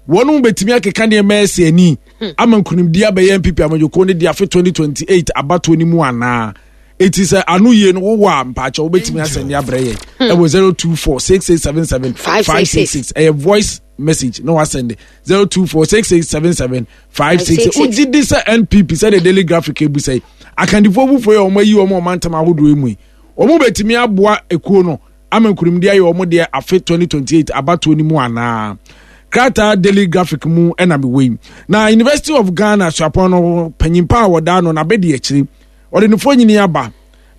wɔn mo bɛtumi akeka nneɛma ɛsɛ ani ama nkunimdi abɛyɛ N P P amanyɔkuo no de afe twenty twenty-eight abatoɔ no mu anaa eti sɛ ano yie no wowɔ a mpaakyɛ wobɛtumi asɛnde abrɛ yɛn ɛwɔ zero two four six six seven seven five six six. Ɛyɛ voice message na wasɛnde zero two four six six seven seven five six. Wogye di sɛ N P P sɛde Daily Graphic ebu sɛ akandifoɔ foforɔ yi a wɔn ayi wɔn ɔmantam ahodoɔ yi mu yi wɔn bɛtumi aboa ekuo no ama nkunimdi ayɛ wɔn deɛ afe twenty twenty-eight abatoɔ no mu anaa krataa Daily Graphic mu ɛna mewɔ yi. Na University of Ghana suapɔn no panyimpa a wɔda no n'abɛdi akyire ɔde ne fonyini aba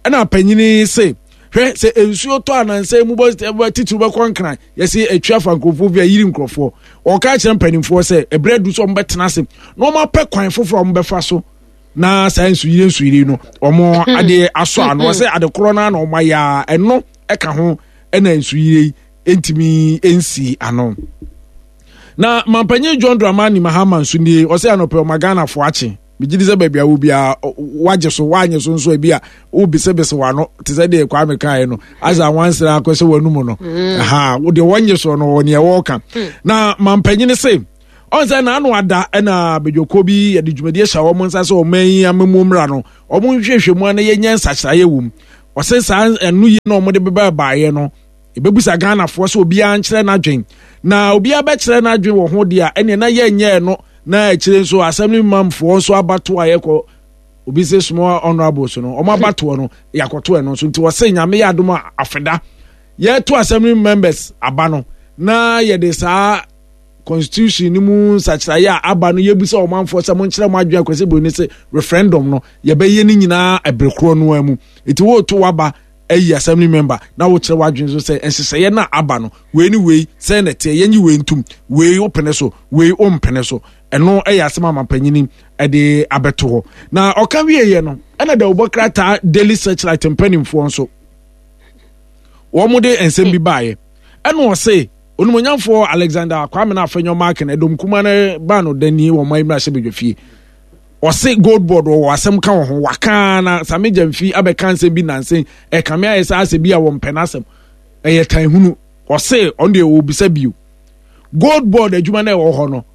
ɛna panyini se hwɛ sɛ nsuo tɔ anansa mu bɔ titiri bɛkɔ Nkran yɛsi atwa fa nkurɔfoɔ bi a yiri nkurɔfoɔ ɔka kyerɛ mpanimfoɔ sɛ ɛbrɛ du so wɔn bɛtena ase na wɔn apɛ kwan foforɔ a wɔn bɛfa so na saa nsuyire nsuyire no wɔn adeɛ asɔ ano ɔsɛ ade korɔ no na wɔn ayɛ a ɛno ɛka ho ɛna nsuyire yi ntumi nsi ano. Na mampanyin John Dramani Mahama nso nie ɔsɛ anɔpɛ ɔma Ghanafoɔ akye. Megye di sɛ baabi a wo biara wagye so, wanyɛ so nso ebi a wobisabisa w'ano te sɛ deɛ Kwame kaeɛ no, asa wansere akɔhyɛ w'anum no. Mm. Ha, deɛ wɔnyɛ so no wɔ neɛ wɔreka. Na mampanyini se ɔn sɛ n'ano ada ɛna badwakuo bi yɛde dwumadie hyɛ wɔn nsa sɛ wɔn ayi amamuo mmra no, wɔn nhwehwɛ mu ana yɛnyɛ nsakyeraeɛ wɔ mu. Ɔse saa ɛno yi na wɔn de bɛba baeɛ no, ɛbɛbusa Ghanafoɔ sɛ obiara nkyerɛ n'adwen, na obiara bɛkyerɛ n'adwen wɔ ho deɛ a ɛneɛ na yɛnyɛɛ no. Na akyire nso assembly mamfoɔ nso abato a yɛkɔ obi sɛ small honorable so no, wɔn abatoɔ no yɛakɔto ɛno nso. Nti wɔse Nyame yɛ adom a afeda yɛto assembly members aba no, na yɛde saa constitution no mu nsakyeraeɛ a aba no yɛbisa ɔmanfoɔ sɛ monkyerɛ mo adwene. Akwasi Buroni sɛ referendum no yɛbɛyɛ no nyinaa ɛbere korɔ no ara mu. Nti woreto waba ayi assembly member na wokyerɛ w'adwene so sɛ nhyehyɛeɛ no a aba no wei ne wei sɛn na ɛteɛ, yɛnyi wei ntom, wei wopene so, wei wompene so. Ɛno ɛyɛ asɛm a mampanyini ɛde abɛto hɔ. Na ɔka wieɛ no ɛna dawubɔ krataa Daily Searchlight mpanimfoɔ nso wɔn de nsɛm bi baeɛ. Ɛna ɔse onimonyamfoɔ Alexander Kwame na Afenyo Markin ɛdɔm kuma no ba no dani wɔn ayi mmarahyɛ badwa fie. Ɔse gold board wɔ asɛm ka wɔ ho waka na Sami Gyamfi abɛka nsɛm bi nansen ɛkame ayɛ sɛ asɛ bi a wɔmpɛ n'asɛm ɛyɛ tan hunu. Ɔse ɔno deɛ ɔbisa bio, gold board adwuma no ɛwɔ hɔ no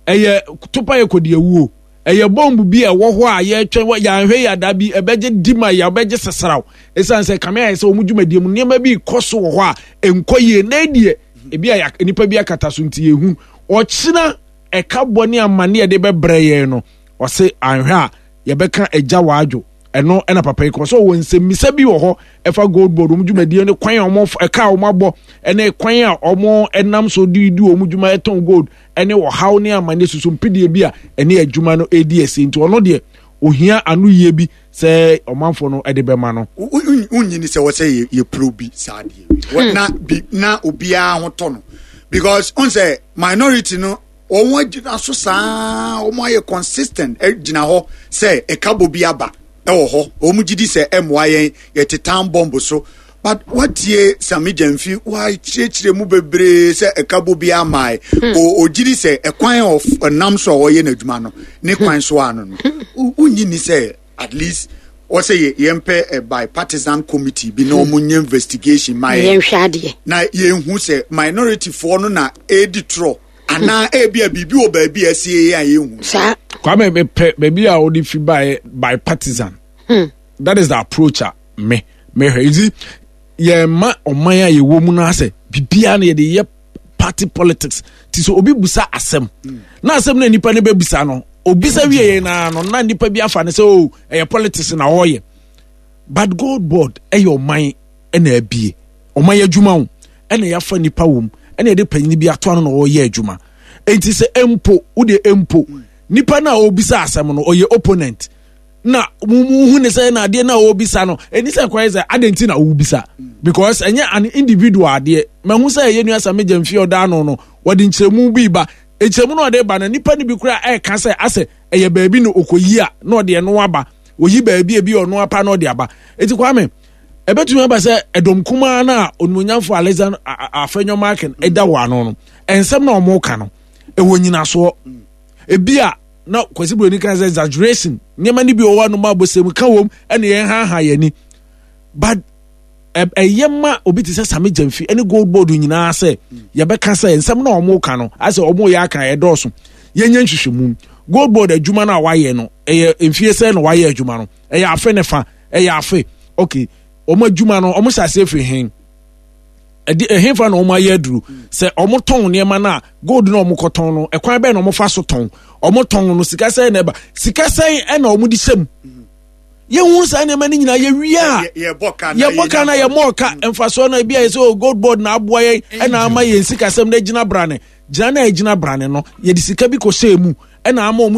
ɛyɛ topa yɛ kɔdi awuo, ɛyɛ bɔmbu bi a ɛwɔ hɔ a yɛtwɛn yɛanhwɛ yɛ ada bi ɛbɛgye di ma yɛ ɛbɛgye sesraw, ɛsiane sɛ kame ayɛ sɛ wɔn dwumadie mu nneɛma bi kɔ so wɔ hɔ a ɛnkɔ yie na ɛdeɛ ebi a nipa bi akata so nti yɛhu ɔkyena ɛka bɔ ne amane yɛde bɛbrɛ yɛn no. Ɔse anhwɛ a yɛbɛka agya wadwo ɛno. Ɛna papa yi kɔ so wɔ nsɛmmisa bi wɔ hɔ ɛfa gold board wɔn dwumadie ne kwan a wɔn ɛka a wɔn abɔ ɛne kwan a wɔn ɛnam so de di wɔn dwuma ɛtɔn gold ɛne ɔhaw ne amane soso mpidie bi a ɛne adwuma no ɛredi ɛsi. Nti ɔno deɛ ohia ano yie bi sɛ ɔmanfoɔ no ɛde bɛma no. Wonyini sɛ wɔsɛ yɛ pro bi saa deɛ na bi na obiara ho tɔ no, because on sɛ minority no wɔn agyina so saa, wɔn ayɛ consistent gyina hɔ sɛ ɛka bɔ bi aba ɛwɔ hɔ, wɔn gyi di sɛ ɛmmoa yɛn yɛte town bomb so. But watie Sami Gyamfi wakyerɛkyerɛ mu bebree sɛ ɛka bɔ bi ama o ogyi di sɛ ɛkwan a ɔnam so a ɔyɛ n'adwuma no ne kwan so ano no, wonyi ni sɛ at least wɔsɛ yɛ yɛmpɛ a bipartisan committee bi na wɔn nyɛ investigation ma yɛn yɛnhwɛ adeɛ na yɛnhu sɛ minority foɔ no na ɛredi torɔ anaa ebi a biribi wɔ baabi a ɛsi yɛ a yɛnhu. Saa. Kwame mepɛ baabi a wɔde fi baeɛ bipartisan. Hmm. That is the approach a me mehwɛ. You see, yɛn ma ɔman a yɛwɔ mu no asɛ biribiara no yɛde yɛ party politics. Ti so obi busa asɛm na asɛm na nipa no bɛbusa no obisa wie yɛn na no na nipa bi afa no sɛ o ɛyɛ politics na ɔreyɛ. But gold board ɛyɛ ɔman ɛna abie ɔman yɛ adwuma o ɛna yɛafa nipa wɔ mu ɛna yɛde panyin bi ato ano na ɔreyɛ adwuma. Enti sɛ mpo wode mpo nipa no a ɔbisa asɛm no ɔyɛ opponent na muhu ne sɛ na adeɛ na ɔbisa no ɛni sɛ kwan sɛ adɛn nti na ɔbisa, because ɛnyɛ an individual adeɛ. Mahu sɛ ɛyɛ nua Sami Gyamfi ɔda ano no wɔde nkyerɛmu bi ba, nkyerɛmu no ɔde ba no nipa no bi koraa ɛɛka sɛ asɛ ɛyɛ baabi na ɔkɔyi a na ɔde ɛno aba, oyi baabi ebi ɔno apa na ɔde aba. Eti Kwame ɛbɛtumi aba sɛ ɛdɔm kumaa no a onimonyamfo Alexander Afenyo Markin ɛda wɔ ano no ɛnsɛm na ɔmo ka no ɛwɔ nyinasoɔ. Ebi a na Kwasi Buroni kan sɛ exaggeration nneɛma no bi wɔ hɔ anum abɔsɛm ka wɔm ɛna yɛn haha yɛn ani, but ɛyɛ ma obi te sɛ Sami Gyamfi ɛne gold board nyinaa sɛ yɛbɛka sɛ nsɛm na ɔmo ka no asɛ ɔmo yɛ aka ɛdɔɔso. Yɛnyɛ nhwehwɛmu. Gold board adwuma no a wayɛ no ɛyɛ mfie sɛ na wayɛ adwuma no ɛyɛ afe ne fa ɛyɛ afe okay. Wɔn adwuma no wɔn hyɛ aseɛ firi hen ɛde ɛhenfa na wɔn ayɛ aduru sɛ wɔn tɔn nneɛma no a gold na wɔn kɔtɔn no ɛkwan bɛn na wɔn fa so tɔn wɔn tɔn no sika sɛn na ɛba sika sɛn ɛna wɔn de hyɛ mu yɛn saa nneɛma no nyinaa yɛwie a yɛbɔ ka na yɛmɔ ka mfasoɔ no ebi a yɛ sɛ o gold board na aboa yɛn ɛna ama yɛn sikasɛm na egyina brane gyina na egyina brane no yɛde sika bi kɔ hyɛ mu ɛna ama wɔn.